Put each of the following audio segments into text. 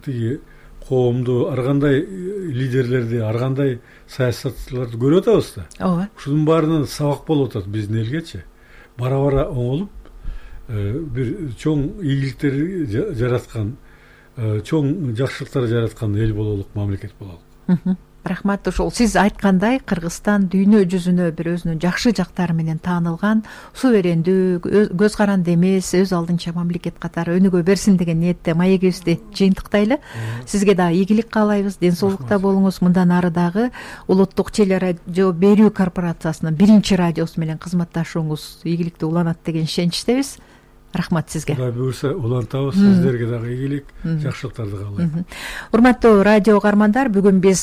тиги коомду, ар кандай лидерлерди, ар кандай саясатчыларды көрүп атабыз да. ооба. Ушунун баарынан сабак болуп атат биздин элгечи. Бара оңолуп бир чоң ийгиликтерди жараткан, чоң жакшылыктар жараткан эл бололук, мамлекет бололук. Рахмат. Ошол сиз айткандай Кыргызстан дүйнө жүзүнө бир өзүнүн жакшы жактары менен таанылган, суверендүү, көз каранды эмес, өз алдынча мамлекет катары өнүгө берсин деген ниетте маегибизди жыйынтыктайлы. Сизге дагы ийгилик каалайбыз, ден соолукта болуңуз. Мындан ары дагы улуттук телерадио берүү корпорациясынын биринчи радиосу менен кызматташууңуз ийгиликтүү уланат деген ишеничтебиз. Рахмат сизге. Кудай буюрса улантабыз, сиздерге дагы ийгилик, жакшылыктарды каалайм. Урматтуу радио угармандар, бүгүн биз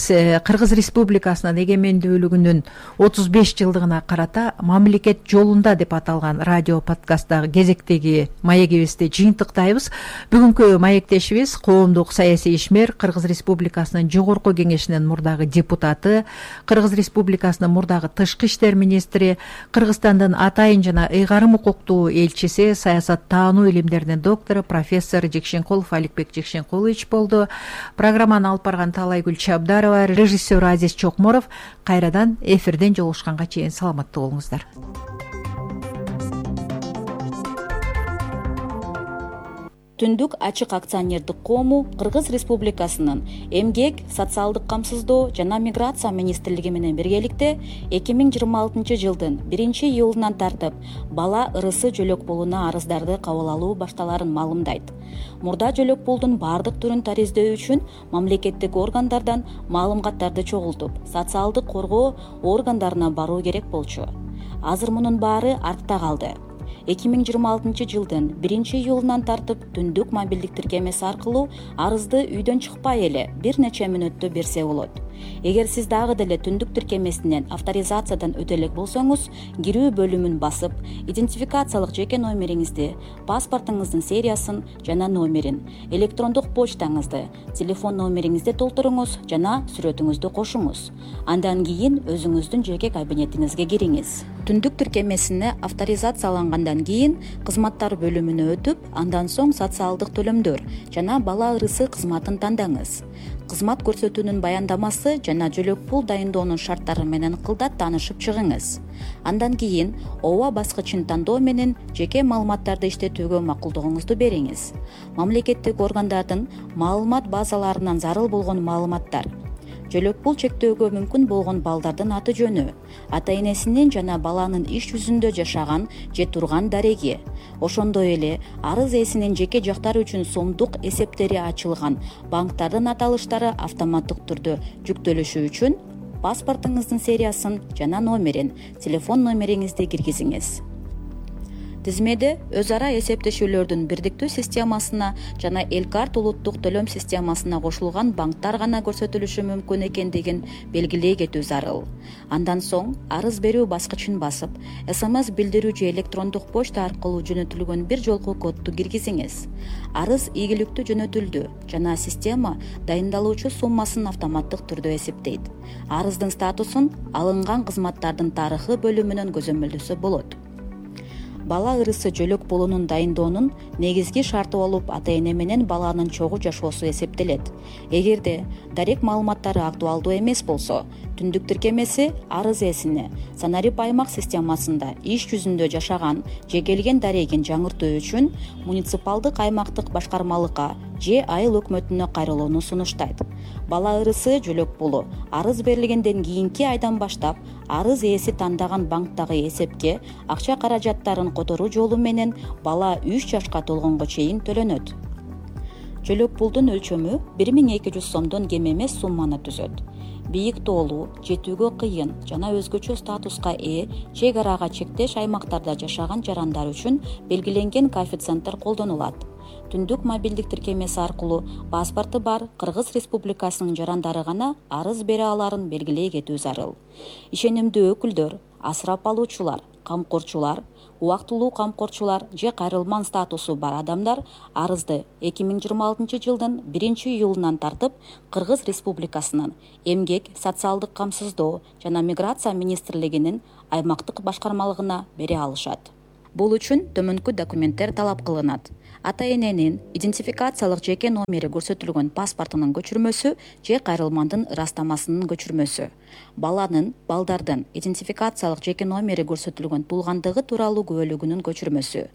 Кыргыз Республикасынын эгемендүүлүгүнүн 35 жылдыгына карата мамлекет жолунда деп аталган радио подкасттагы кезектеги маегибизди жыйынтыктайбыз. Бүгүнкү маектешибиз коомдук саясий ишмер, Кыргыз Республикасынын жогорку кеңешинин мурдагы депутаты, Кыргыз Республикасынын мурдагы тышкы иштер министри, Кыргызстандын атайын жана ыйгарым укуктуу элчиси, саясат таануу илимдеринин доктору, профессор Жекшенкулов Аликбек Жекшенкулович болду. Программаны алып барган Таалайгүл Чабдарова, режиссер Азиз Чокморов. Кайрадан эфирден жолугушканга чейин саламаттуу болуңуздар. Түндүк ачык акционердик коому Кыргыз Республикасынын эмгек, социалдык камсыздоо жана миграция министрлиги менен биргеликте 2026 жылдын 1-июлунан тартып бала ырысы жөлөк пулуна арыздарды кабыл алуу башталарын маалымдайт. Мурда жөлөк пулдун бардык түрүн тариздөө үчүн мамлекеттик органдардан маалыматтарды чогултуп, социалдык коргоо органдарына баруу керек болчу. Азыр мунун баары артта калды. 2026 жылдын 1-июлунан тартып түндүк мобилдик тиркемеси аркылуу арызды үйдөн чыкпай эле бир нече мүнөттө берсе болот. Эгер сиз дагы деле түндүк тиркемесинен авторизациядан өтө элек болсоңуз, кирүү бөлүмүн басып, идентификациялык жеке номериңизди, паспортуңуздун сериясын жана номерин, электрондук почтаңызды, телефон номериңизди толтуруңуз жана сүрөтүңүздү кошуңуз. Андан кийин өзүңүздүн жеке кабинетиңизге кириңиз. Түндүк тиркемесине авторизациялангандан кийин кызматтар бөлүмүнө өтүп, андан соң социалдык төлөмдөр жана бала ырысы кызматын тандаңыз. Кызмат көрсөтүүнүн баяндамасы жана жөлөк пул дайындоонун шарттары менен кылдат таанышып чыгыңыз. Андан кийин ооба баскычын тандоо менен жеке маалыматтарды иштетүүгө макулдугуңузду бериңиз. Мамлекеттик органдардын маалымат базаларынан зарыл болгон маалыматтар, жөлөк пул чектөөгө мүмкүн болгон балдардын аты жөнү, ата энесинин жана баланын иш жүзүндө жашаган же турган дареги, ошондой эле арыз ээсинин жеке жактары үчүн сомдук эсептери ачылган банктардын аталыштары автоматтык түрдө жүктөлүшү үчүн паспортуңуздун сериясын жана номерин, телефон номериңизди киргизиңиз. Тизмеде өз ара эсептешүүлөрдүн бирдиктүү системасына жана Элкарт улуттук төлөм системасына кошулган банктар гана көрсөтүлүшү мүмкүн экендигин белгилей кетүү зарыл. Андан соң арыз берүү баскычын басып, СМС билдирүү же электрондук почта аркылуу жөнөтүлгөн бир жолку кодду киргизиңиз. Арыз ийгиликтүү жөнөтүлдү жана система дайындалуучу суммасын автоматтык түрдө эсептейт. Арыздын статусун алынган кызматтардын тарыхы бөлүмүнөн көзөмөлдөсө болот. Бала ырысы жөлөк пулунун дайындоонун негизги шарты болуп ата эне менен баланын чогуу жашоосу эсептелет. Эгерде дарек маалыматтары актуалдуу эмес болсо, түндүк тиркемеси арыз ээсине Санарип аймак системасында иш жүзүндө жашаган же келген дарегин жаңыртуу үчүн муниципалдык аймактык башкармалыкка же айыл өкмөтүнө кайрылууну сунуштайт. Бала ырысы жөлөк пулу арыз берилгенден кийинки айдан баштап арыз ээси тандаган банктагы эсепке акча каражаттарын которуу жолу менен бала 3 жашка толгонго чейин төлөнөт. Жөлөк пулдун өлчөмү 1200 сомдон кем эмес сумманы түзөт. Бийик тоолуу, жетүүгө кыйын жана өзгөчө статуска ээ чек арага чектеш аймактарда жашаган жарандар үчүн белгиленген коэффициенттер колдонулат. Түндүк мобилдик тиркемеси аркылуу паспорту бар Кыргыз Республикасынын жарандары гана арыз бере аларын белгилей кетүү зарыл. Ишенимдүү өкүлдөр, асырап алуучулар, камкорчулар, убактылуу камкорчулар же кайрылман статусу бар адамдар арызды 2026 жылдын 1-июлунан тартып Кыргыз Республикасынын эмгек, социалдык камсыздоо жана миграция министрлигинин аймактык башкармалыгына бере алышат. Бул үчүн төмөнкү документтер талап кылынат. ата эненин идентификациялык жеке номери көрсөтүлгөн паспортунун көчүрмөсү же кайрылмандын ырастамасынын көчүрмөсү, балдардын идентификациялык жеке номери көрсөтүлгөн туулгандыгы тууралуу күбөлүгүнүн көчүрмөсү,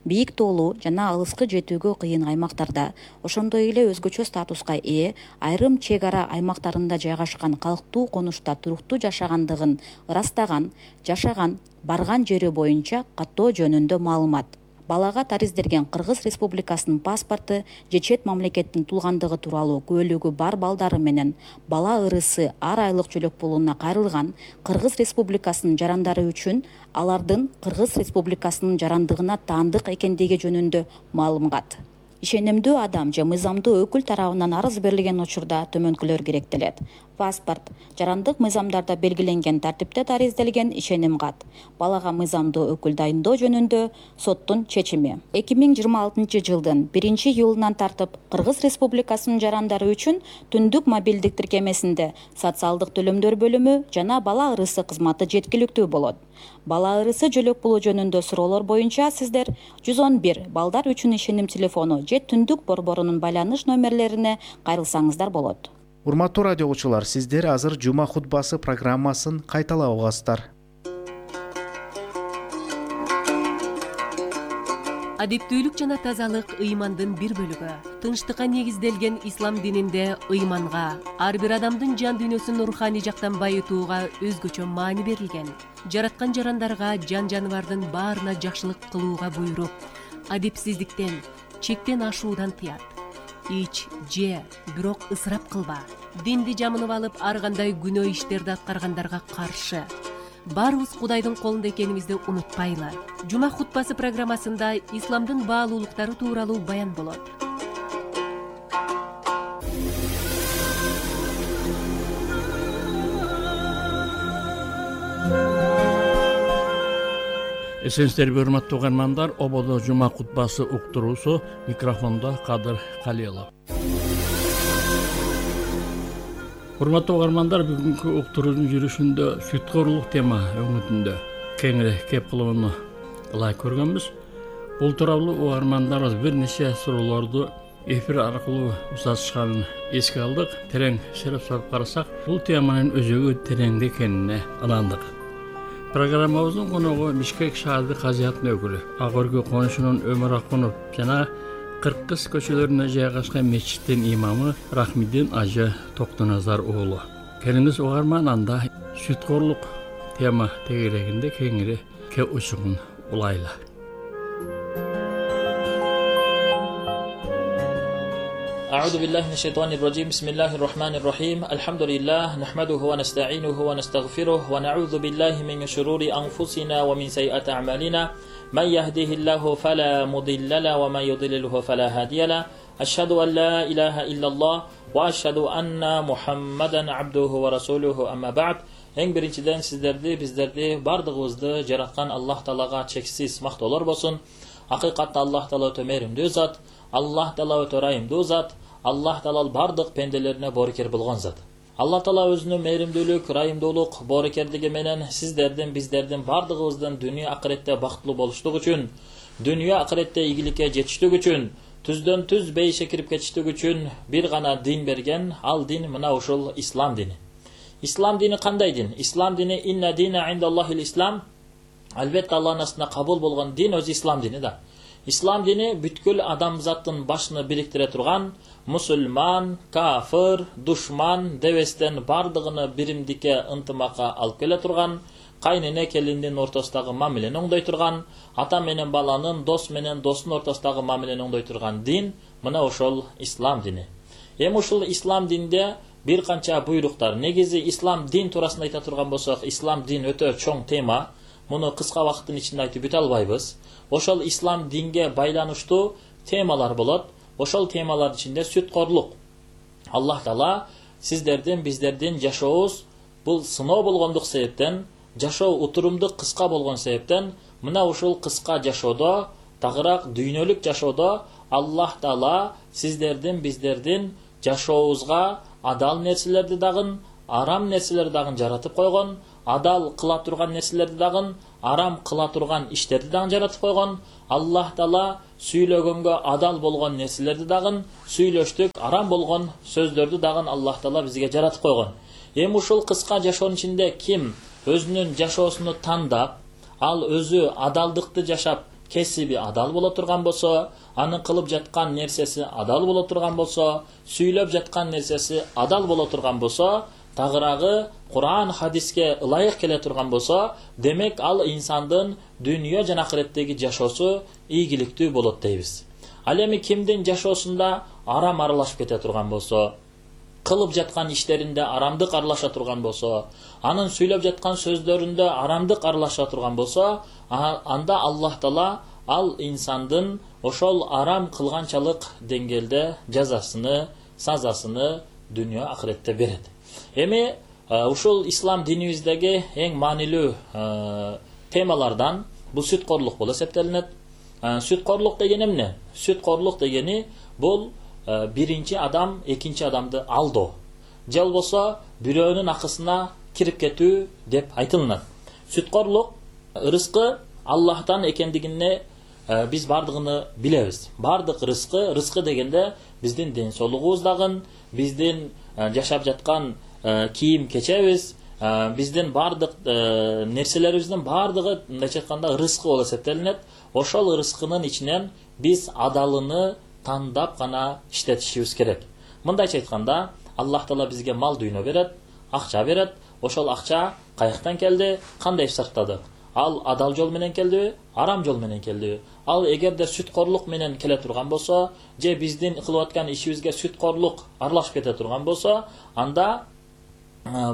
бийик тоолуу жана алыскы жетүүгө кыйын аймактарда, ошондой эле өзгөчө статуска ээ айрым чек ара аймактарында жайгашкан калктуу конушта туруктуу жашагандыгын ырастаган, жашаган, барган жери боюнча каттоо жөнүндө маалымат, балага тариздерген Кыргыз Республикасынын паспорту же чет мамлекеттин туулгандыгы тууралуу күбөлүгү бар балдары менен бала ырысы ар айлык жөлөк пулуна кайрылган Кыргыз Республикасынын жарандары үчүн алардын Кыргыз Республикасынын жарандыгына таандык экендиги жөнүндө маалымат. Ишенимдүү адам же мыйзамдуу өкүл тарабынан арыз берилген учурда төмөнкүлөр керектелет. Паспорт, жарандык мыйзамдарда белгиленген тартипте таризделген ишеним кат, балага мыйзамдуу өкүл дайындоо жөнүндө соттун чечими. 2026 жылдын 1-июлунан тартып Кыргыз Республикасынын жарандары үчүн түндүк мобилдик тиркемесинде социалдык төлөмдөр бөлүмү жана бала ырысы кызматы жеткиликтүү болот. Бала ырысы жөлөк пулу жөнүндө суроолор боюнча сиздер 111 балдар үчүн ишеним телефону же түндүк борборунун байланыш номерлерине кайрылсаңыздар болот. Урматтуу радио угуучулар, сиздер азыр жума хутбасы программасын кайталап угасыздар. Адептүүлүк жана тазалык ыймандын бир бөлүгү. Тынчтыкка негизделген ислам дининде ыйманга, ар бир адамдын жан дүйнөсүн руханий жактан байытууга өзгөчө маани берилген. Жараткан жарандарга, жан жаныбардын баарына жакшылык кылууга буйруп, адепсиздиктен, чектен ашуудан тыят. Ич, же, бирок ысырап кылба. Динди жамынып алып, ар кандай күнөө иштерди аткаргандарга каршы. Баарыбыз Кудайдын колунда экенибизди унутпайлы. Жума хутбасы программасында исламдын баалуулуктары тууралуу баян болот. Эсенсиздерби урматтуу угармандар, ободо жума хутбасы уктуруусу, микрофондо Кадыр Калиелов. Урматтуу угармандар, бүгүнкү уктуруунун жүрүшүндө сүткөрлүк тема өңүтүндө кеңири кеп кылууну ылайык көргөнбүз. Бул тууралуу угармандарыбыз бир нече суроолорду эфир аркылуу узатышканын эске алдык. Терең сереп соруп карасак, бул теманын өзөгү тереңде экенине ынандык. Программабыздын коногу Бишкек шаардык казыятын өкүлү, Ак Өргө конушунун Өмүр Акунов жана Кыркыз көчөлөрүнө жайгашкан мечиттин имамы Рахмидин ажы Токтоназар уулу. Келиңиз угарман, анда сүткөрлүк тема тегерегинде кеңири кеп учугун улайлы. أعوذ بالله من الشيطان الرجيم بسم الله الرحمن الرحيم الحمد لله نحمده ونستعينه ونستغفره ونعوذ بالله من شرور أنفسنا ومن سيئات أعمالنا من يهده الله فلا مضل له ومن يضلله فلا هادي له أشهد أن لا إله إلا الله وأشهد أن محمدا عبده ورسوله أما بعد. Эң биринчиден биздерди бардыгыбызды жараткан Аллах Таалага чексиз мактоолор болсун. Акыйкатта Аллах Таала өтө мээримдүү зат, Аллах Таала өтө ырайымдуу зат, Аллах Таала бардык пенделерине боорукер болгон зат. Аллах Таала өзүнүн мээримдүүлүк, ырайымдуулук, боорукерлиги менен биздердин бардыгыбыздын дүйнө акыретте бактылуу болуштук үчүн, дүйнө акыретте ийгиликке жетиштик үчүн, түздөн түз бейишке кирип кетиштик үчүн бир гана дин берген. Ал дин мына ушул ислам дини. Ислам дини кандай дин? Ислам дини инна дина индаллахил ислам. Албетте Аллахтын астында кабыл болгон дин өзү ислам дини да. Ислам дини бүткүл адамзаттын башыны бириктире турган, мусулман, кафир, душман дебестен бардыгыны биримдикке ынтымакка алып келе турган, кайнене келиндин ортосундагы мамилени оңдой турган, ата менен баланын, дос менен достун ортосундагы мамилени оңдой турган дин мына ошол ислам дини. Эми ушул ислам динде бир канча буйруктар. Негизи ислам дин туурасында айта турган болсок, ислам дин өтө чоң тема. Муну кыска вакыттын ичинде айтып бүтө албайбыз. Ошол ислам динге байланыштуу темалар болот. Ошол темалардын ичинде сүткөрлүк. Аллах Таала биздердин жашообуз бул сыноо болгондук себептен, жашоо утурумдук кыска болгон себептен, мына ушул кыска жашоодо, тагыраак дүйнөлүк жашоодо Аллах Таала биздердин жашообузга адал нерселерди дагы, арам нерселерди дагы жаратып койгон. адал кыла турган нерселерди дагы, арам кыла турган иштерди дагы жаратып койгон. Аллах Таала сүйлөгөнгө адал болгон нерселерди дагы, сүйлөштүк арам болгон сөздөрдү дагы Аллах Таала бизге жаратып койгон. Эми ушул кыска жашоонун ичинде ким өзүнүн жашоосуну тандап, ал өзү адалдыкты жашап, кесиби адал боло турган болсо, анын кылып жаткан нерсеси адал боло турган болсо, сүйлөп жаткан нерсеси адал боло турган болсо, тагыраагы Кур'ан хадиске ылайык келе турган болсо, демек ал инсандын дүйнө жана ахиреттеги жашоосу ийгиликтүү болот дейбиз. Ал эми кимдин жашоосунда арам аралашып кете турган болсо, кылып жаткан иштеринде арамдык аралаша турган болсо, анын сүйлөп жаткан сөздөрүндө арамдык аралаша турган болсо, анда Аллах Таала ал инсандын ошол арам кылганчалык деңгээлде жазасыны, сазасыны дүйнө ахиретте берет. Эми ушул ислам динибиздеги эң маанилүү темалардан бул сүткорлук болуп эсептелинет. Сүткорлук деген эмне? Сүткорлук дегени бул биринчи адам экинчи адамды алдоо, же болбосо бирөөнүн акысына кирип кетүү деп айтылынат. Сүткорлук рызкы Аллахтан экендигине биз бардыгыны билебиз. Бардык рызкы дегенде биздин ден соолугубуз дагы, биздин жашап жаткан кийим кечебиз, биздин бардык нерселерибиздин бардыгы мындайча айтканда рызкы болуп эсептелинет. Ошол рызкынын ичинен биз адалыны тандап гана иштетишибиз керек. Мындайча айтканда, Аллах Таала бизге мал дүйнө берет, акча берет. Ошол акча каяктан келди, кандай сарптадык? Ал адал жол менен келдиби, арам жол менен келдиби? Ал эгерде сүткорлук менен келе турган болсо, же биздин кылып аткан ишибизге сүткорлук аралашып кете турган болсо, анда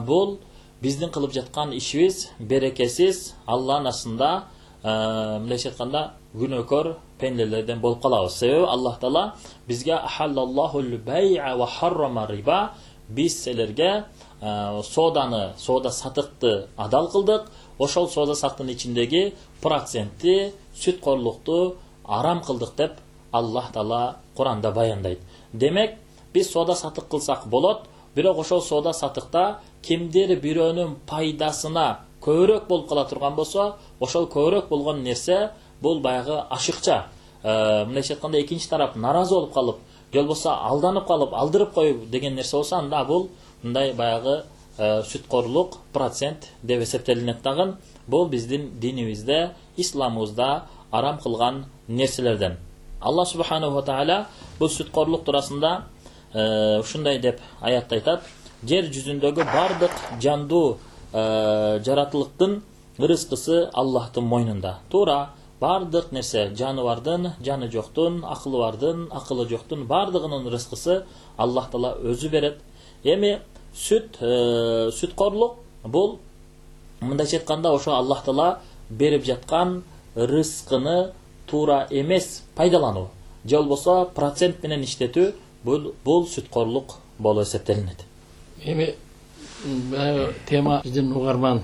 бул биздин кылып жаткан ишибиз берекесиз, Аллахтын астында мындайча айтканда күнөөкөр пенделерден болуп калабыз. Себеби Аллах Таала бизге ахаллаллахул бай'a ва харрама риба, биз силерге соода сатыкты адал кылдык. Ошол соода саттын ичиндеги процентти сүткорлукту арам кылдык деп Аллах Таала Куранда баяндайт. Демек, биз соода сатык кылсак болот, бирок ошол соода сатыкта кимдир бирөөнүн пайдасына көбүрөөк болуп кала турган болсо, ошол көбүрөөк болгон нерсе бул баягы ашыкча. Мындайча айтканда экинчи тарап наразы болуп калып, же болбосо алданып калып, алдырып коюп деген нерсе болсо, анда бул мындай баягы сүткорлук процент деп эсептелинет дагы. Бул биздин динибизде, исламыбызда арам кылган нерселерден. Аллах субханаху ва таала бул сүткорлук туурасында ушундай деп аятта айтат: жер жүзүндөгү бардык жандуу жаратылыктын рызкысы Аллахтын мойнунда. Туура бардык нерсе, жаныбардын, жаны жоктун, акылы бардын, акылы жоктун бардыгынын рызкысы Аллах Таала өзү берет. Эми сүткорлук бул мындайча айтканда ошо Аллах Таала берип жаткан рызкыны туура эмес пайдалануу, же болбосо процент менен иштетүү, бул сүткорлук болуп эсептелинет. Эми тема биздин угарман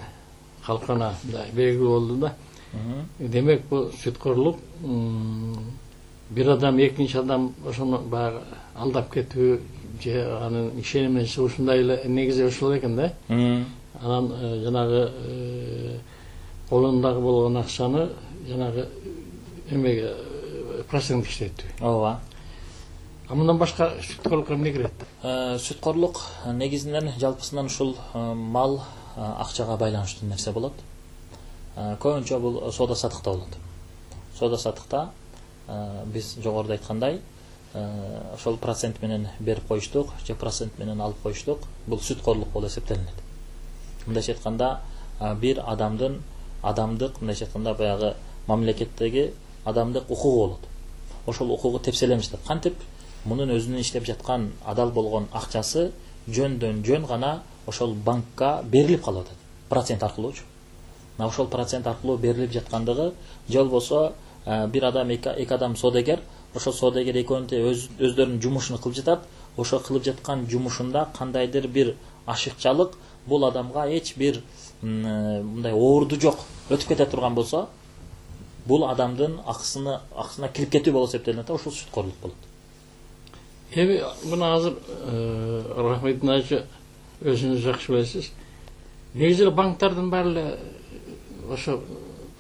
калкына белгилүү болду да. Демек бул сүткорлук бир адам экинчи адам ошону баягы алдап кетүү, же анын ишенимиси ушундай эле негизи ошол экен да. Анан жанагы колундагы болгон акчаны жанагы эмеге процент иштетүү. Ооба. Мындан башка сүткорлукка эмне кирет? Сүткорлук негизинен жалпысынан ушул мал, акчага байланыштуу нерсе болот. Көбүнчө бул соода сатыкта болот. Соода сатыкта биз жогоруда айткандай, ошол процент менен берип коюштук, же процент менен алып коюштук, бул сүткорлук болуп эсептелинет. Мындайча айтканда, бир адамдын адамдык, мындайча айтканда баягы мамлекеттеги адамдык укугу болот. Ошол укугу тепселемиш деп. Кантип мунун өзүнүн иштеп жаткан адал болгон акчасы жөндөн жөн гана ошол банкка берилип калып атат. Процент аркылуучу. Ошол процент аркылуу берилип жаткандыгы, же болбосо бир адам, эки адам соодагер, ошол соодагер экөөнү өздөрүнүн жумушун кылып жатат. Ошол кылып жаткан жумушунда кандайдыр бир ашыкчалык бул адамга эч бир мындай оорду жок өтүп кете турган болсо, бул адамдын акысына кирип кетүү болуп эсептелинет, ошол сүткорлук болот. Эми мына азыр Рахметин ажы өзүңүз жакшы билесиз. негизи банктардын баары эле ошо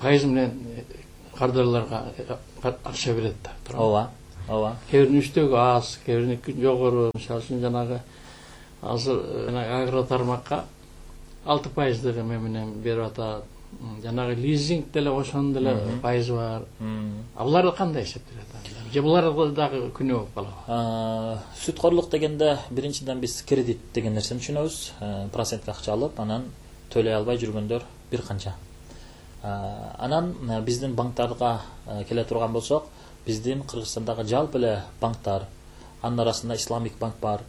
пайыз менен кардарларга акча берет да. ооба ооба. Кээ биринин үстөгү аз, кээ бириники жогору. Мисалы үчүн жанагы азыр агро тармакка 6% менен берип атат. Жанагы лизинг деле ошонун деле пайызы бар. Буларды кандай эсептелет? Же булар дагы күнөө болуп калабы? Сүткорлук дегенде биринчиден биз кредит деген нерсени түшүнөбүз. Процентке акча алып, анан төлөй албай жүргөндөр бир канча. Анан биздин банктарга келе турган болсок, биздин Кыргызстандагы жалпы эле банктар, анын арасында Исламик банк бар.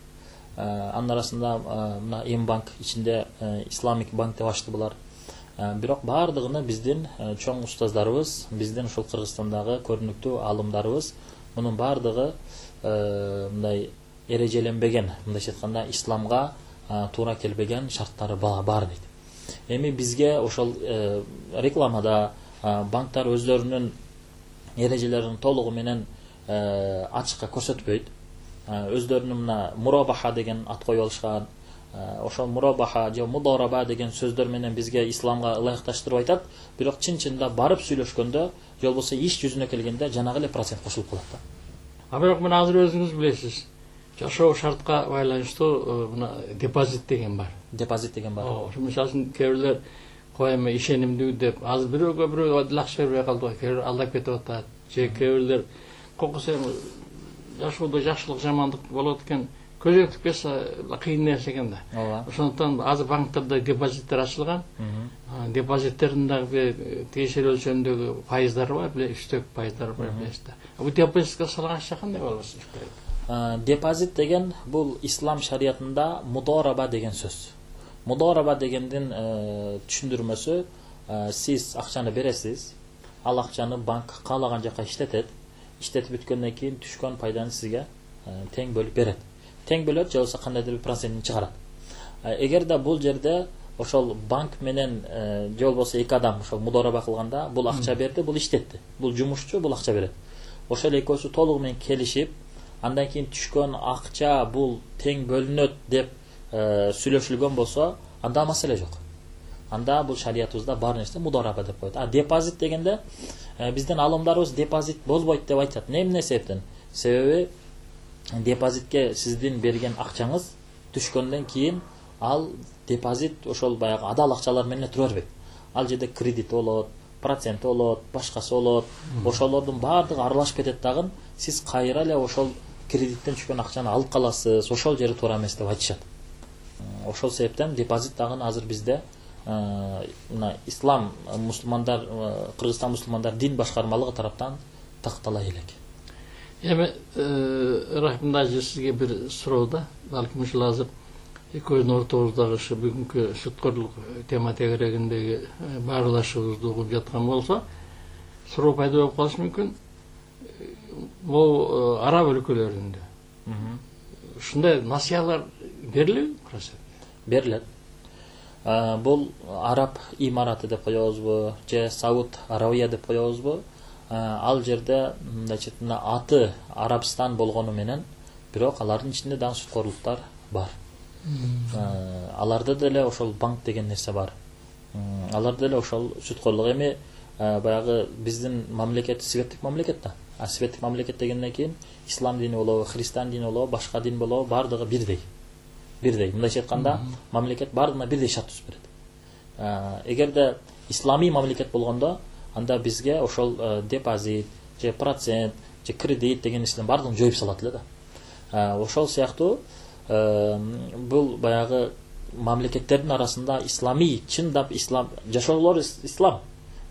Анын арасында мына М-банк ичинде Исламик банк деп ачты булар. Бирок баардыгыны биздин чоң устаздарыбыз, биздин ушул Кыргызстандагы көрүнүктүү аалымдарыбыз, мунун баардыгы мындай эрежеленбеген, мындайча айтканда исламга туура келбеген шарттары бар дейт. Эми бизге ошол рекламада банктар өздөрүнүн эрежелерин толугу менен ачыкка көрсөтпөйт. Өздөрүнүн мына мурабаха деген ат коюп алышкан. Ошол мурабаха же мудораба деген сөздөр менен бизге исламга ылайыкташтырып айтат. Бирок чын-чынында барып сүйлөшкөндө, же болбосо иш жүзүнө келгенде жанагы эле процент кошулуп калат да. Бирок мына азыр өзүңүз билесиз, жашоо шартка байланыштуу мына депозит деген бар. Депозит деген бар. Ошо мисалы үчүн кээ бирлер коем ишенимдүү деп азыр бирөөгө акча бербей калды, кээ бир алдап кетип атат. Же кээ бирлер кокус жашоодо жакшылык жамандык болот экен, көзөтүп кетсе кыйын нерсе экен да. Ооба. Ошондуктан азыр банктарда депозиттер ачылган. Депозиттердин дагы тиешелүү өлчөмдөгү пайыздары бар, үстөк пайыздары бар билесиз да. Бул депозитке салган акча кандай болосун? Депозит деген бул ислам шариятында мудораба деген сөз. Мудораба дегендин түшүндүрмөсү, сиз акчаны бересиз, ал акчаны банк каалаган жака иштетет. Иштетип бүткөндөн кийин түшкөн пайданы сизге тең бөлүп берет. Тең бөлөт, же болбосо кандайдыр бир процентин чыгарат. Эгерде бул жерде ошол банк менен же болбосо эки адам ошол мудораба кылганда, бул акча берди, бул иштетти. Бул жумушчу, бул акча берет. Ошол экөөсү толугу менен келишип, андан кийин түшкөн акча бул тең бөлүнөт деп сүйлөшүлгөн болсо, анда маселе жок. Анда бул шариятыбызда бар нерсе мудораба деп коет. Депозит дегенде биздин алымдарыбыз депозит болбойт деп айтат. Эмне себептен? Себеби депозитке сиздин берген акчаңыз түшкөндөн кийин ал депозит ошол баягы адал акчалар менен тура бербейт. Ал жерде кредит болот, процент болот, башкасы болот. Ошолордун баардыгы аралашып кетет дагы, сиз кайра эле ошол кредиттен түшкөн акчаны алып каласыз. Ошол жери туура эмес деп айтышат. Ошол себептен депозит дагы азыр бизде мына ислам мусулмандар, Кыргызстан мусулмандар дин башкармалыгы тараптан тактала элек. Эми рахмында сизге бир суроо да, балким ушул азыр экөөбүздүн ортобуздагы ушу бүгүнкү сүткөрлүк тема тегерегиндеги баарлашуубузду угуп жаткан болсо, суроо пайда болуп калышы мүмкүн. Бул араб өлкөлөрүндө ушундай насыялар берилеби? Берилет. Бул араб имараты деп коебузбу, же Сауд Арабия деп коебузбу? Ал жерде мындайча айтканда аты Арабстан болгону менен, бирок алардын ичинде дагы сүткөрлүктөр бар. Аларда деле ошол банк деген нерсе бар. Аларда деле ошол сүткөрлүк. Эми баягы биздин мамлекет светтик мамлекет да. Светтик мамлекет дегенден кийин ислам дини болобу, христиан дини болобу, башка дин болобу, баардыгы бирдей. Бирдей. Мындайча айтканда мамлекет баардыгына бирдей шарт түзүп берет. Эгерде ислами мамлекет болгондо, анда бизге ошол депозит, же процент, же кредит деген нерселердин баардыгын жоюп салат эле да. Ошол сыяктуу бул баягы мамлекеттердин арасында ислами, чындап ислам, жашоолор ислам,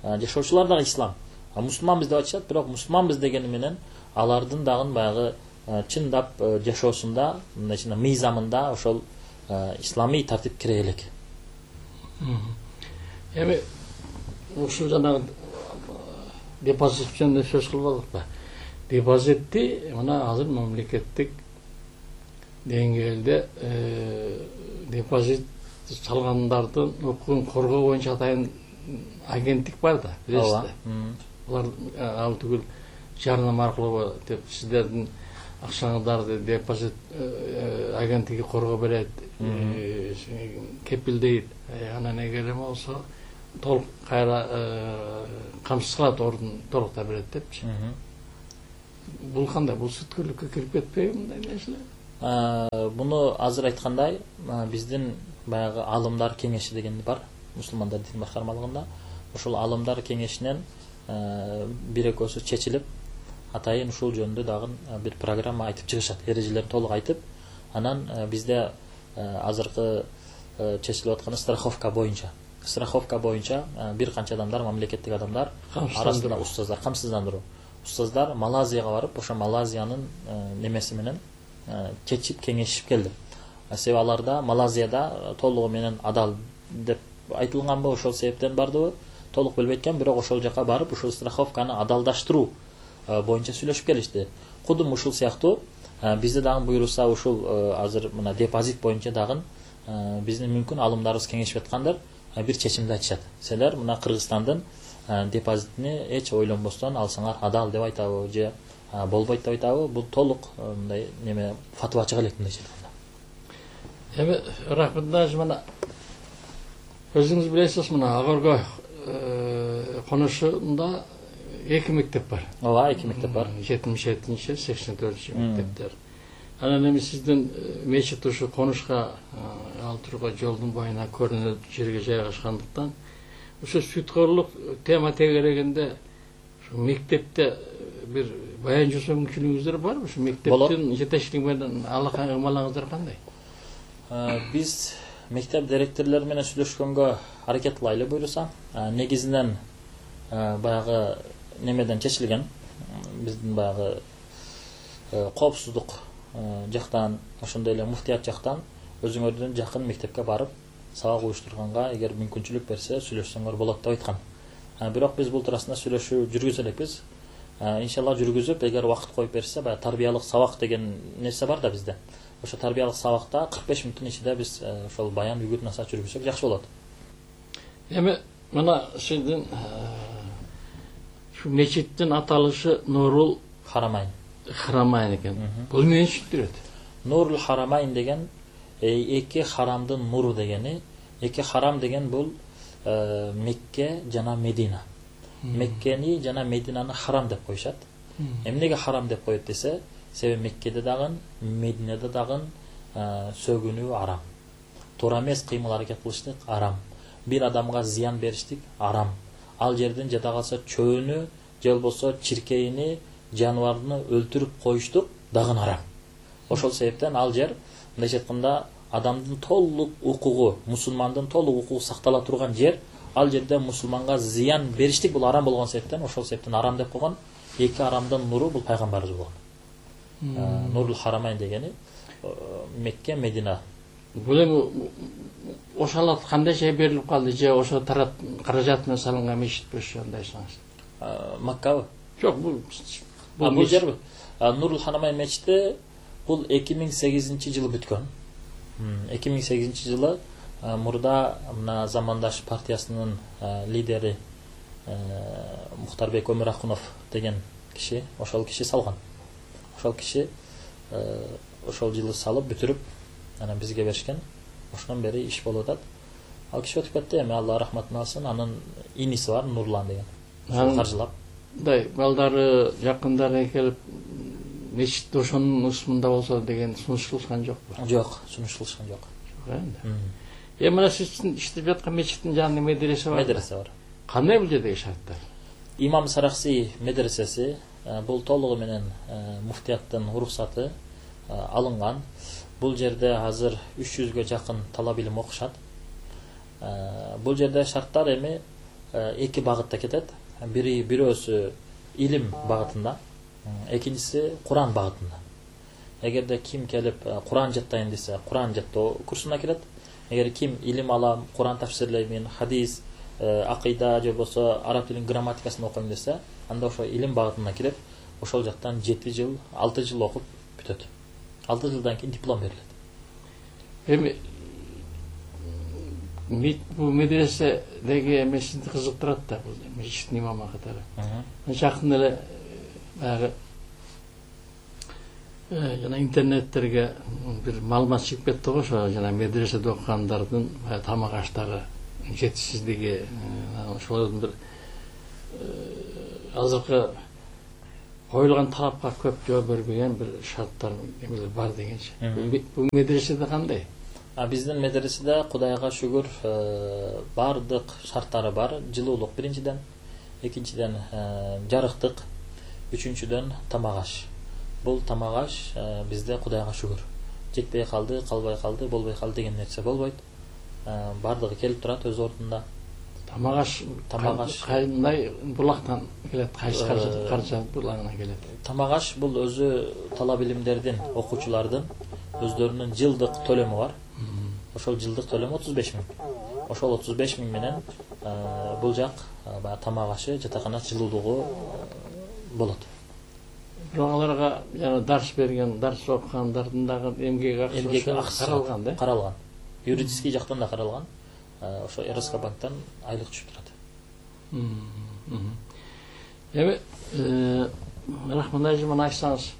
жашоочулар дагы ислам. Мусулманбыз деп айтышат, бирок мусулманбыз дегени менен алардын дагы баягы чындап жашоосунда, мындайча мыйзамында ошол ислами тартип кире элек. Эми ушул жанагы депозит жөнүндө сөз кылып алдыкпы? Депозитти мына азыр мамлекеттик деңгээлде депозит салгандардын укугун коргоо боюнча атайын агенттик бар да, билесиз да. Булар ал түгүл жарнама аркылуу деп сиздердин акчаңыздарды депозит агенттиги коргоо берет, кепилдейт. Анан эгер эме болсо толук кайра камсыз кылат, ордун толуктап берет депчи. Бул кандай? Бул сүткөрлүккө кирип кетпейби мындай нерселер? Буну азыр айткандай, биздин баягы алымдар кеңеши деген бар, мусулмандар дин башкармалыгында. Ошол алымдар кеңешинен бир экөөсү чечилип, атайын ушул жөнүндө дагы бир программа айтып чыгышат, эрежелерин толук айтып. Анан бизде азыркы чечилип атканы страховка боюнча бир канча адамдар, мамлекеттик адамдар арасында устаздар, камсыздандыруу устаздар Малайзияга барып, ошо Малайзиянын немеси менен чечип кеңешип келди. Себеби аларда Малайзияда толугу менен адал деп айтылганбы, ошол себептен бардыбы толук билбей экен, бирок ошол жака барып ушул страховканы адалдаштыруу боюнча сүйлөшүп келишти. Кудум ушул сыяктуу бизде дагы буйруса ушул азыр мына депозит боюнча дагы биздин мүмкүн алымдарыбыз кеңешип аткандар бир чечимди айтышат. Силер мына Кыргызстандын депозитини эч ойлонбостон алсаңар адал деп айтабы же болбойт деп айтабы? Бул толук мындай неме фатва чыга элек мындайча айтканда. Эми рахмат, мына өзүңүз билесиз, мына Агорго конушунда 2 мектеп бар. Ооба, 2 мектеп бар. 77-84 мектептер. Анан эми сиздин мечит ушу конушка ал турган жолдун боюна көрүнө жерге жайгашкандыктан ошо сүткөрлүк тема тегерегинде ушу мектепте бир баян жасоо мүмкүнчүлүгүңүздөр барбы? Ушу мектептин жетекчилиги менен алакай ыкмалыңыздар кандай? Биз мектеп директорлору менен сүйлөшкөнгө аракет кылайлы буйруса. Негизинен баягы немеден чечилген, биздин баягы коопсуздук жактан, ошондой эле муфтият жактан өзүңөрдүн жакын мектепке барып сабак уюштурганга эгер мүмкүнчүлүк берсе сүйлөшсөңөр болот деп айткан. Бирок биз бул туурасында сүйлөшүү жүргүзө элекпиз. Иншалла жүргүзүп, эгер убакыт коюп берсе, баягы тарбиялык сабак деген нерсе бар да бизде. Ошо тарбиялык сабакта 45 мүнөттүн ичинде биз ошол баян үгүт насаат жүргүзсөк жакшы болот. Эми мына сиздин мечиттин аталышы Нурул Харамайн экен. Бул эмне түшүндүрөт? Нурул Харамайн деген эки харамдын нуру дегени. Эки харам деген бул Мекке жана Медина. Меккени жана Мединаны харам деп коюшат. Эмнеге харам деп коет десе, себеби Меккеде дагы, Мединеде дагы сөгүнүү арам. Туура эмес кыймыл аракет кылыштык арам. Бир адамга зыян бериштик арам. Ал жерден жада калса чөөнү же болбосо чиркейини, жаныбарды өлтүрүп коюштук дагы арам. Ошол себептен ал жер мындайча айтканда адамдын толук укугу, мусулмандын толук укугу сактала турган жер. Ал жерде мусулманга зыян бериштик бул арам болгон себептен, ошол себептен арам деп койгон. Эки арамдын нуру бул пайгамбарыбыз болгон. Нурул Харамайн дегени Мекке, Медина. Бул эми ошол кандайча берилип калды же ошо тарап каражат менен салынган мечитпи ошо андайсыңыз? Маккабы? Жок, бул жерби? Нурул Харамайн мечити бул 2008-жылы бүткөн. 2008-жылы мурда мына Замандаш партиясынын лидери Мухтарбек Өмүракунов деген киши, ошол киши салган. Ошол киши ошол жылы салып бүтүрүп анан бизге беришкен. Ошондон бери иш болуп атат. Ал киши өтүп кетти, эми Алла рахматын алсын. Анын иниси бар, Нурлан деген. Ошол каржылап. Мындай балдары, жакындары келип мечит ошонун ысмында болсо деген сунуш кылышкан жокпу? Жок, сунуш кылышкан жок. Эми мына сиздин иштеп жаткан мечиттин жанында медресе бар. Медресе бар. Кандай бул жердеги шарттар? Имам Саракси медресеси бул толугу менен муфтияттын уруксаты алынган. Бул жерде азыр 300гө жакын талап илим окушат. Бул жерде шарттар эми эки багытта кетет. Бирөөсү илим багытында, экинчиси Куран багытында. Эгерде ким келип Куран жаттайын десе, Куран жаттоо курсуна кирет. Эгер ким илим алам, Куран тафсирлеймин, хадис, акыйда же болбосо араб тилинин грамматикасын окуйм десе, анда ошо илим багытына кирип, ошол жактан 7 жыл, 6 жыл окуп бүтөт. 6 жылдан кийин диплом берилет. Эми бул медреседеги эми сизди кызыктырат да, бул мечиттин имамы катары. Жакын эле баягы жана интернеттерге бир маалымат чыгып кетти го, ошо жана медреседе окугандардын тамак аштагы жетишсиздиги, ошолордун бир азыркы коюлган талапка көп жооп бербеген бир шарттар эмелер бар дегенчи. Бул медреседе кандай? Биздин медреседе Кудайга шүгүр бардык шарттары бар. Жылуулук биринчиден, экинчиден жарыктык, үчүнчүдөн тамак аш. Бул тамак аш бизде Кудайга шүгүр. Жетпей калды, калбай калды, болбой калды деген нерсе болбойт. Бардыгы келип турат өз ордунда. Тамак аш кандай булактан келет, кайсы каржы булагынан келет? Тамак аш бул өзү талап илимдердин, окуучулардын өздөрүнүн жылдык төлөмү бар. Ошол жылдык төлөмү 35 000. Ошол 35 000 менен бул жак тамак ашы, жатакана жылуулугу болот. Бирок аларга жана дарс берген, дарс окугандардын дагы эмгек акчасы каралган да? Каралган. Юридический жактан да каралган. Ошо РСК банктан айлык түшүп турат. Эми рахман мына айтсаңыз,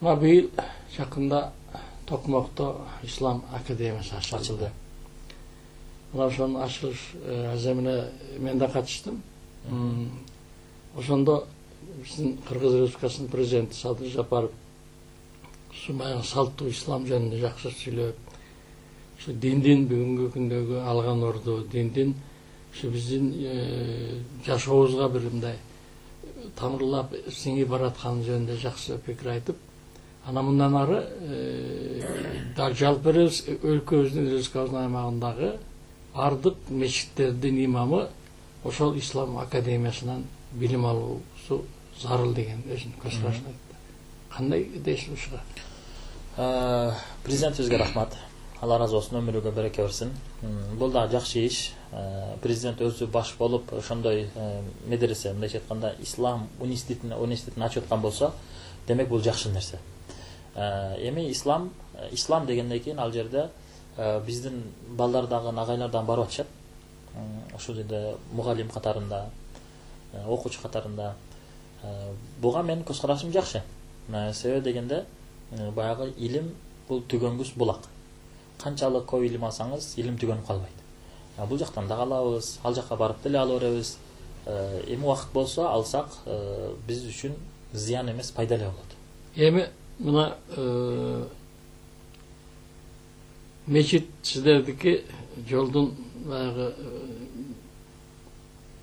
мына быйыл жакында Токмокто Ислам академиясы ачылды. Мына ошонун ачылыш аземине мен да катыштым. Ошондо биздин Кыргыз Республикасынын президенти Садыр Жапаров баягы салттуу ислам жөнүндө жакшы сүйлөп, ошо диндин бүгүнкү күндөгү алган орду, диндин ошо биздин жашообузга бир мындай тамырлап сиңип баратканы жөнүндө жакшы пикир айтып, анан мындан ары жалпы өлкөбүздүн республикабыздын аймагындагы бардык мечиттердин имамы ошол Ислам академиясынан билим алуусу зарыл деген өзүнүн көз карашын айтты. Кандай дейсиз ушуга? Президентибизге рахмат. Алла разы болсун, өмүрүгө береке берсин. Бул да жакшы иш. Президент өзү баш болуп ошондой медресе, мындайча айтканда, ислам университетин ачып аткан болсо, демек бул жакшы нерсе. Эми ислам дегенден кийин ал жерде биздин балдар дагы, агайлар дагы барып атышат. Ошол жерде мугалим катарында, окуучу катарында. Буга менин көз карашым жакшы. Себеби дегенде баягы илим бул түгөнгүс булак. Канчалык көп илим алсаңыз, илим түгөнүп калбайт. Бул жактан да алабыз, ал жакка барып деле ала беребиз. Эми убакыт болсо алсак, биз үчүн зыян эмес, пайдалуу болот. Эми мына мечит сиздердики жолдун баягы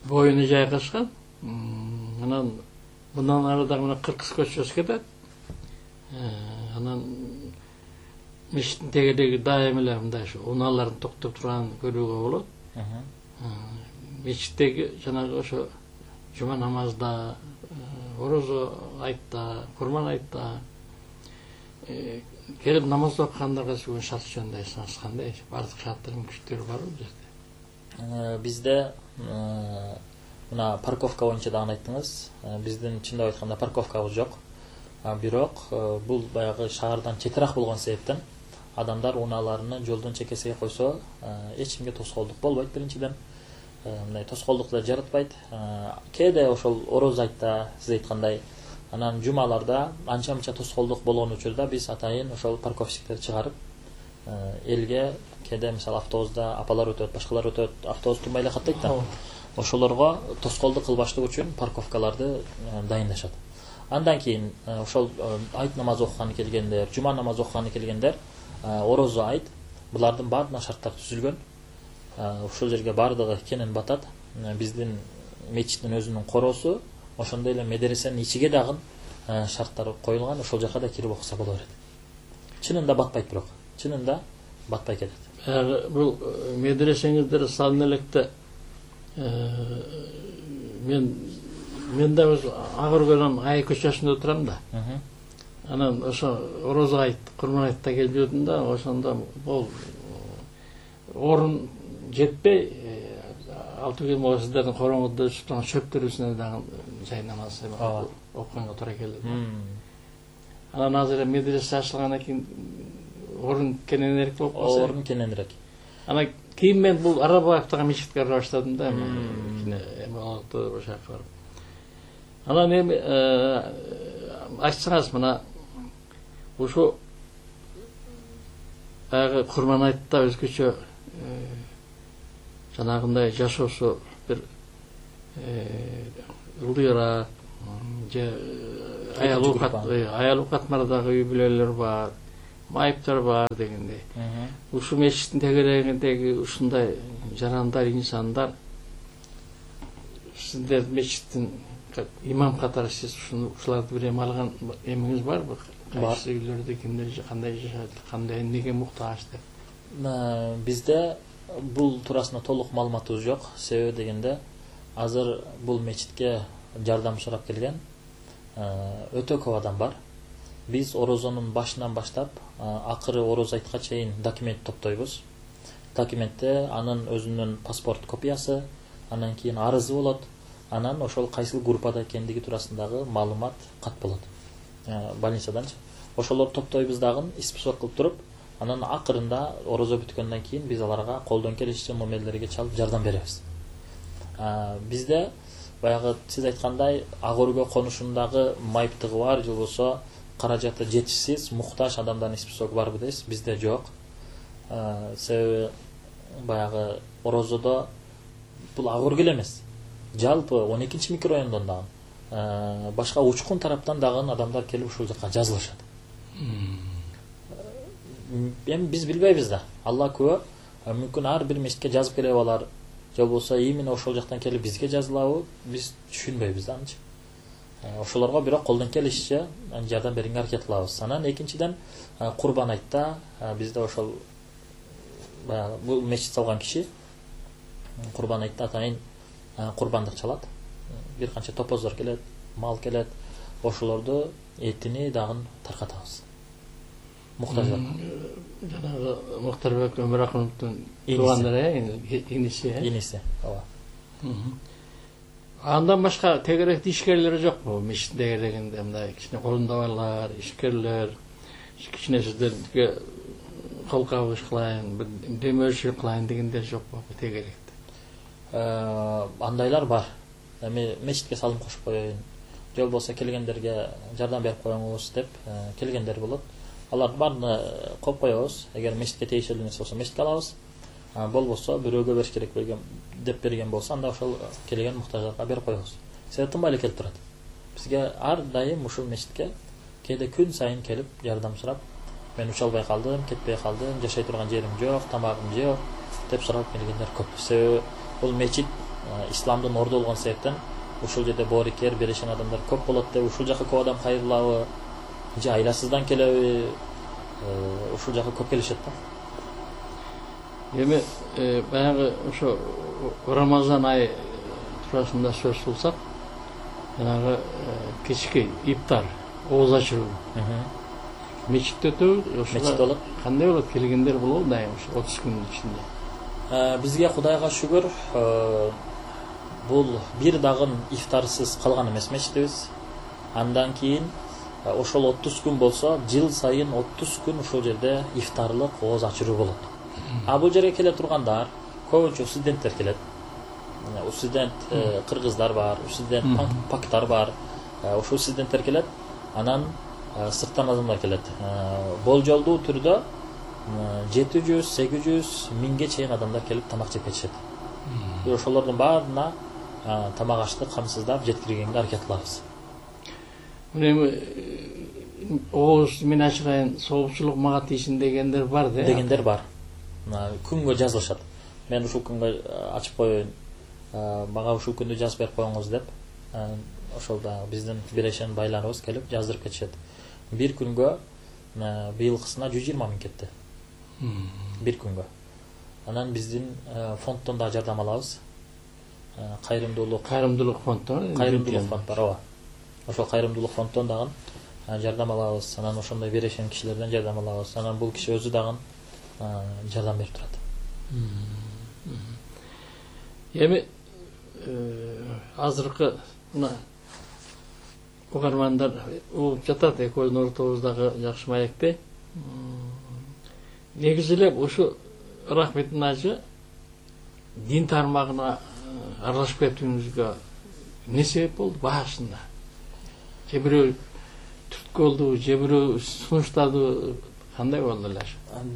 боюна жайгашкан. Анан мындан ары дагы мына Кыргыз көчөсү кетет. Анан мечиттин тегереги дайым эле мындай ушу унаалардын токтоп турганын көрүүгө болот. Мечиттеги жанагы ошо жума намазда, орозо айтта, курман айтта келип намаз окугандарга бүгүн шарт жөнүндө айтсаңыз кандай? Бардык шарттар мүмкүнчүлүктөрү барбы бул жерде? Бизде мына парковка боюнча дагы айттыңыз. Биздин чындап айтканда парковкабыз жок. Бирок бул баягы шаардан четирак болгон себептен адамдар унааларını жолдун чекесине койсо, эч кимге тоскоолдук болбойт биринчиден. Мындай тоскоолдук да жаратпайт. Кээде ошол ороз айтта, сиз айткандай, анан жумаларда анча-мынча тоскоолдук болгон учурда биз атайын ошол парковщиктерди чыгарып, элге кээде мисалы автобуста апалар өтөт, башкалар өтөт, автобус турбай эле каттайт да. Ошолорго тоскоолдук кылбаштык үчүн парковкаларды дайындашат. Андан кийин ошол айт намазы окуганы келгендер, жума намазы окуганы келгендер, орозо айт, булардын баардыгына шарттар түзүлгөн. Ошол жерге баардыгы кенен батат. Биздин мечиттин өзүнүн коросу, ошондой эле медресенин ичиге дагы шарттар коюлган, ошол жака да кирип окуса боло берет. Чынында батпайт бирок. Чынында батпай кетет. Бул медресеңиздер салына электе мен да өз Агыркөлөн Ай көчөсүндө турам да. Анан ошо орозо айт, курман айтта келип жүрдүм да, ошондо бул орун жетпей, алтыгы сиздердин короңузда өсүп турган чөптөр үстүнө дагы жай намаз окуганга туура келди. Анан азыр медресе ачылгандан кийин орун кененирээк болуп калса. Орун кененирээк. Анан кийин мен бул Арабаевтагы мечитке бара баштадым да, эми ошол жака барып. Анан эми айтсаңыз мына Ошо баягы Курман айтта өзгөчө жанагындай жашоосу бир ылдыйраак же аял катмардагы үй бүлөлөр бар, майыптар бар дегендей. Ушул мечиттин тегерегиндеги ушундай жарандар, инсандар сиздер мечиттин имам катары сиз ушуларды бир эме алган эмиңиз барбы? Кайсы үйлөрдө кимдер кандай жашайт, кандай эмнеге муктаж деп? Бизде бул туурасында толук маалыматыбыз жок. Себеби дегенде азыр бул мечитке жардам сурап келген өтө көп адам бар. Биз орозонун башынан баштап акыры ороз айтка чейин документ топтойбуз. Документте анын өзүнүн паспорт копиясы, анан кийин арызы болот, анан ошол кайсыл группада экендиги туурасындагы маалымат кат болот. Больницаданчы. Ошолорду топтойбуз дагы, исписок кылып туруп, анан акырында орозо бүткөндөн кийин биз аларга колдон келишинче мамилелерге чалып жардам беребиз. Бизде баягы сиз айткандай ак өргө конушундагы майыптыгы бар, же болбосо каражаты жетишсиз, муктаж адамдардын исписогу барбы дейсиз? Бизде жок. Себеби баягы орозодо бул ак өргө эле эмес. Жалпы 12-чи микрорайондон дагы башка учкун тараптан дагы адамдар келип ушул жака жазылышат. Эми биз билбейбиз да. Алла күбө, мүмкүн ар бир мечитке жазып келип алар, же болбосо именно ошол жактан келип бизге жазылабы, биз түшүнбөйбүз да анчы. Ошолорго бирок колдон келишинче жардам берүүгө аракет кылабыз. Анан экинчиден Курбан айтта бизде ошол баягы бул мечит салган киши Курбан айтта атайын курбандык чалат. Бир канча топоздор келет, мал келет. Ошолорду этини дагы таркатабыз. Муктаждар. Жанагы Мухтарбек Өмүракуновдун туугандары, иниси, ооба. Андан башка тегеректи ишкерлери жокпу? Мечиттин тегерегинде мындай кичине корундабарлар, ишкерлер, кичине сиздерге кол кабыш кылайын, бир демөөрчү кылайын дегендер жокпу тегеректе? Андайлар бар. Эми мечитке салым кошуп коеюн, же болбосо келгендерге жардам берип коюңуз деп келгендер болот. Алардын баарын коюп коебуз. Эгер мечитке тийиштүү нерсе болсо мечитке алабыз. Болбосо бирөөгө бериш керек деп берген болсо, анда ошол келген муктаждарга берип коебуз. Себеби тынбай эле келип турат. Бизге ар дайым ушул мечитке кээде күн сайын келип жардам сурап, мен уча албай калдым, кетпей калдым, жашай турган жерим жок, тамагым жок деп сурап келгендер көп. Себеби бул мечит исламдын орду болгон себептен ушул жерде боорукер, берешен адамдар көп болот деп ушул жака көп адам кайрылабы, же айласыздан келеби, ушул жака көп келишет да. Эми баягы ошо Рамазан айы туурасында сөз кылсак, жанагы кечки иптар, ооз ачыруу мечитте өтөбү, ошо болот. Кандай болот? Келгендер болобу дайым ошо 30 күндүн ичинде? Бизге Кудайга шүгүр, бул бир дагы ифтарсыз калган эмес мечитибиз. Андан кийин ошол 30 күн болсо, жыл сайын 30 күн ушул жерде ифтарлык ооз ачыруу болот. Бул жерге келе тургандар көбүнчө студенттер келет. Студент кыргыздар бар, студент пактар бар. Ошол студенттер келет, анан сырттан адамдар келет. Болжолдуу түрдө 700-800 миңге чейин адамдар келип тамак жеп кетишет. Ошолордун баарына тамак аштык камсыздап жеткиргенге аракет кылабыз. Эми ооз мен ачырайын, соопчулук мага тийсин дегендер бар да? Дегендер бар. Күнгө жазылышат. Мен ушул күнгө ачып коеюн, мага ушул күндү жазып берип коюңуз деп. Ошол да биздин бирешен байларыбыз келип жаздырып кетишет. Бир күнгө быйылкысына 120 миң кетти. Бир күнгө. Анан биздин фонддон да жардам алабыз. Кайрымдуулук фонддон бар, ооба. Ошол кайрымдуулук фонддон дагы жардам алабыз. Анан ошондой берешен кишилерден жардам алабыз. Анан бул киши өзү дагы жардам берип турат. Эми азыркы мына угармандар угуп жатат, экөөбүздүн ортобуздагы жакшы маекте. Негизи эле ушу Рахметин ажы дин тармагына аралашып кетүүңүзгө эмне себеп болду башында? Же бирөө түрткү болдубу же бирөө сунуштады, кандай болду эле?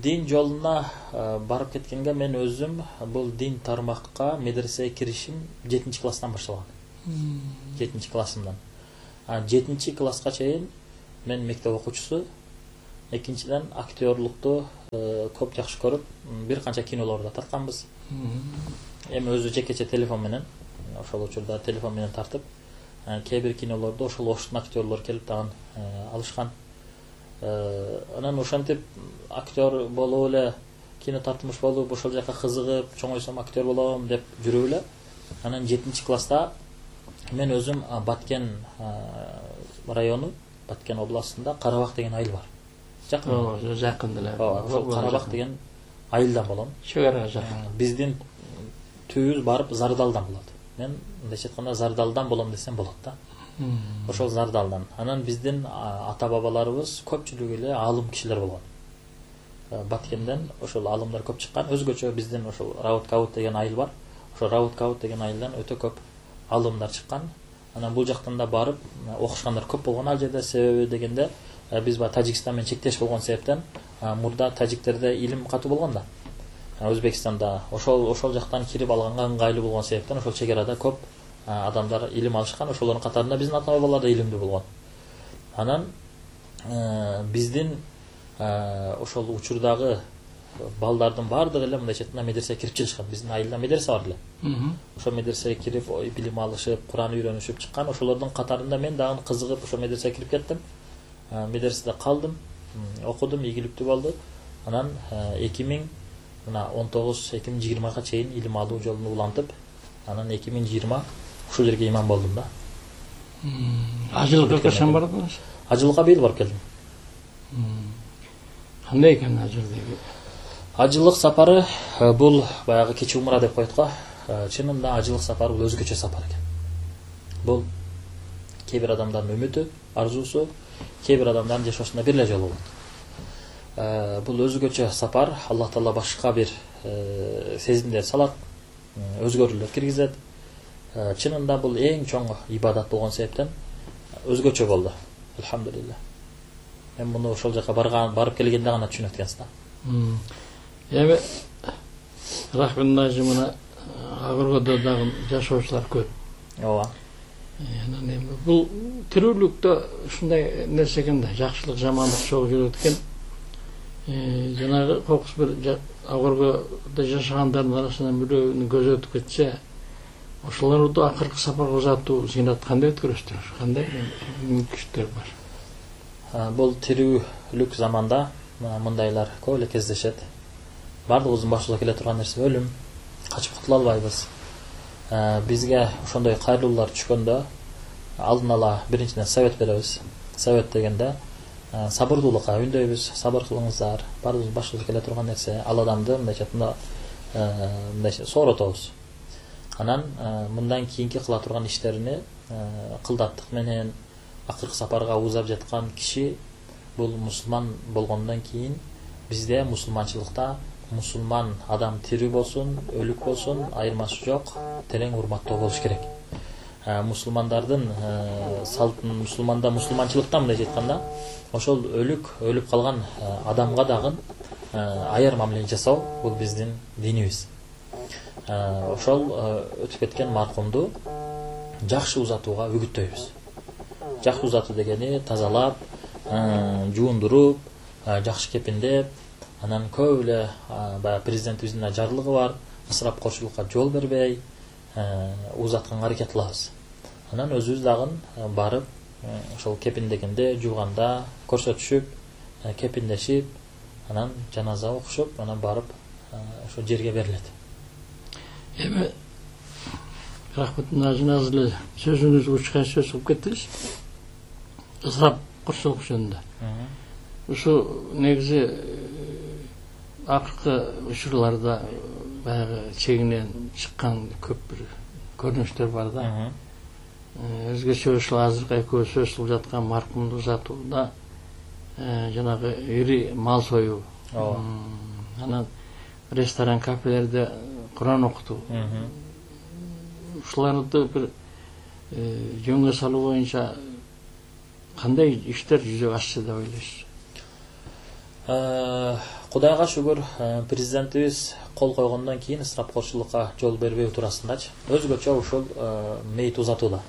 Дин жолуна барып кеткенге мен өзүм бул дин тармакка медресеге киришим 7-класстан башталган. 7-классымдан. 7-класска чейин мен мектеп окуучусу, экинчиден актерлукту көп жакшы көрүп, бир канча кинолорду тартканбыз. Эми өзү жекече телефон менен, ошол учурда телефон менен тартып, кээ бир кинолорду ошол оштун актерлору келип тагын алышкан. Анан ошентип актер болуп эле, кино тартмыш болуп, ошол жака кызыгып, чоңойсом актер болом деп жүрүп эле. Анан 7-класста мен өзүм Баткен району, Баткен областында Карабак деген айыл бар. Жакын эле. Карабак деген айылдан болом. Чек арага жакын. Биздин түбүбүз барып Зардалдан болот. Мен мындайча айтканда Зардалдан болом десем болот да. Ошол Зардалдан. Анан биздин ата бабаларыбыз көпчүлүгү эле алым кишилер болгон. Баткенден ошол алымдар көп чыккан. Өзгөчө биздин ошол Раут деген айыл бар. Ошол Раут деген айылдан өтө көп алымдар чыккан. Анан бул жактан да барып окушкандар көп болгон ал жерде. Себеби дегенде биз Тажикстан менен чектеш болгон себептен мурда тажиктерде илим катуу болгон да. Өзбекстанда ошол жактан кирип алганга ыңгайлуу болгон себептен ошол чек арада көп адамдар илим алышкан. Ошолордун катарында биздин ата бабалар да илимдүү болгон. Анан биздин ошол учурдагы балдардын баардыгы эле мындайча айтканда медресеге кирип чыгышкан. Биздин айылда медресе бар эле. Ошол медресеге кирип билим алышып, Куран үйрөнүшүп чыккан. Ошолордун катарында мен дагы кызыгып ошол медресеге кирип кеттим. Медреседе калдым, окудум, ийгиликтүү болду. Анан 2019-2020 чейин илим алуу жолун улантып, анан 2020 ушул жерге имам болдум да. Ажылыкка качан бардыңыз? Ажылыкка быйыл барып келдим. Кандай экен ажылык? Ажылык сапары бул баягы кечи умра деп коет го. Чынында ажылык сапары бул өзгөчө сапар экен. Бул кээ бир адамдардын үмүтү, арзуусу, кээ бир адамдардын жашоосунда бир эле жолу болот. Бул өзгөчө сапар, Аллах Таала башка бир сезимдер салат, өзгөрүүлөр киргизет. Чынында бул эң чоң ибадат болгон себептен өзгөчө болду. Алхамдулилlah. Мен муну ошол жака барып келгенде гана түшүнөт экенсиз да. Эми рахмет нажымына агыргодо дагы жашоочулар көп. Ооба. Анан эми бул тирүүлүктө ушундай нерсе экен да, жакшылык, жамандык чогуу жүрөт экен. Жанагы кокус бир агыргодо жашагандардын арасынан бирөөнү көзү өтүп кетсе, ошолорду акыркы сапарга узатуу зыйнат кандай өткөрөсүздөр? Кандай мүмкүнчүлүктөр бар? Бул тирүүлүк заманда мындайлар көп эле кездешет. Бардыгыбыздын башыбызга келе турган нерсе өлүм. Качып кутула албайбыз. Бизге ошондой кайрылуулар түшкөндө алдын ала биринчиден совет беребиз. Совет дегенде сабырдуулукка үндөйбүз, сабыр кылыңыздар. Бардыгыбыздын башыбызга келе турган нерсе ал адамды мындайча айтканда сооротобуз. Анан мындан кийинки кыла турган иштерини кылдаттык менен акыркы сапарга узап жаткан киши бул мусулман болгондон кийин бизде мусулманчылыкта мусулман адам тирүү болсун, өлүк болсун, айырмасы жок, терең урматтоо болуш керек. Мусулмандардын салтын, мусулманчылыкта мындай айтканда, ошол өлүп калган адамга дагы аяр мамиле жасоо бул биздин динибиз. Ошол өтүп кеткен маркумду жакшы узатууга үгүттөйбүз. Жакшы узатуу дегени тазалап, жуундуруп, жакшы кепиндеп, анан көп эле баягы президентибиздин жарлыгы бар, ысырапкорчулукка жол бербей узатканга аракет кылабыз. Анан өзүбүз дагы барып ошол кепиндегенде, жууганда көрсөтүшүп, кепиндешип, анан жаназа окушуп, анан барып ошо жерге берилет. Эми рахмет нажыназ эле сөзүңүз учкан сөз кылып кеттиңиз. Ысырапкорчулук жөнүндө. Ушу негизи акыркы учурларда баягы чегинен чыккан көп бир көрүнүштөр бар да. Өзгөчө ушул азыркы экөөбүз сөз кылып жаткан маркумду узатууда жанагы ири мал союу. Анан ресторан, кафелерде Куран окутуу. Ушуларды бир жөнгө салуу боюнча кандай иштер жүзөгө ашты деп ойлойсуз? Кудайга шүгүр, президентибиз кол койгондон кийин ысырапкорчулукка жол бербөө туурасындачы өзгөчө ушул мейит узатууда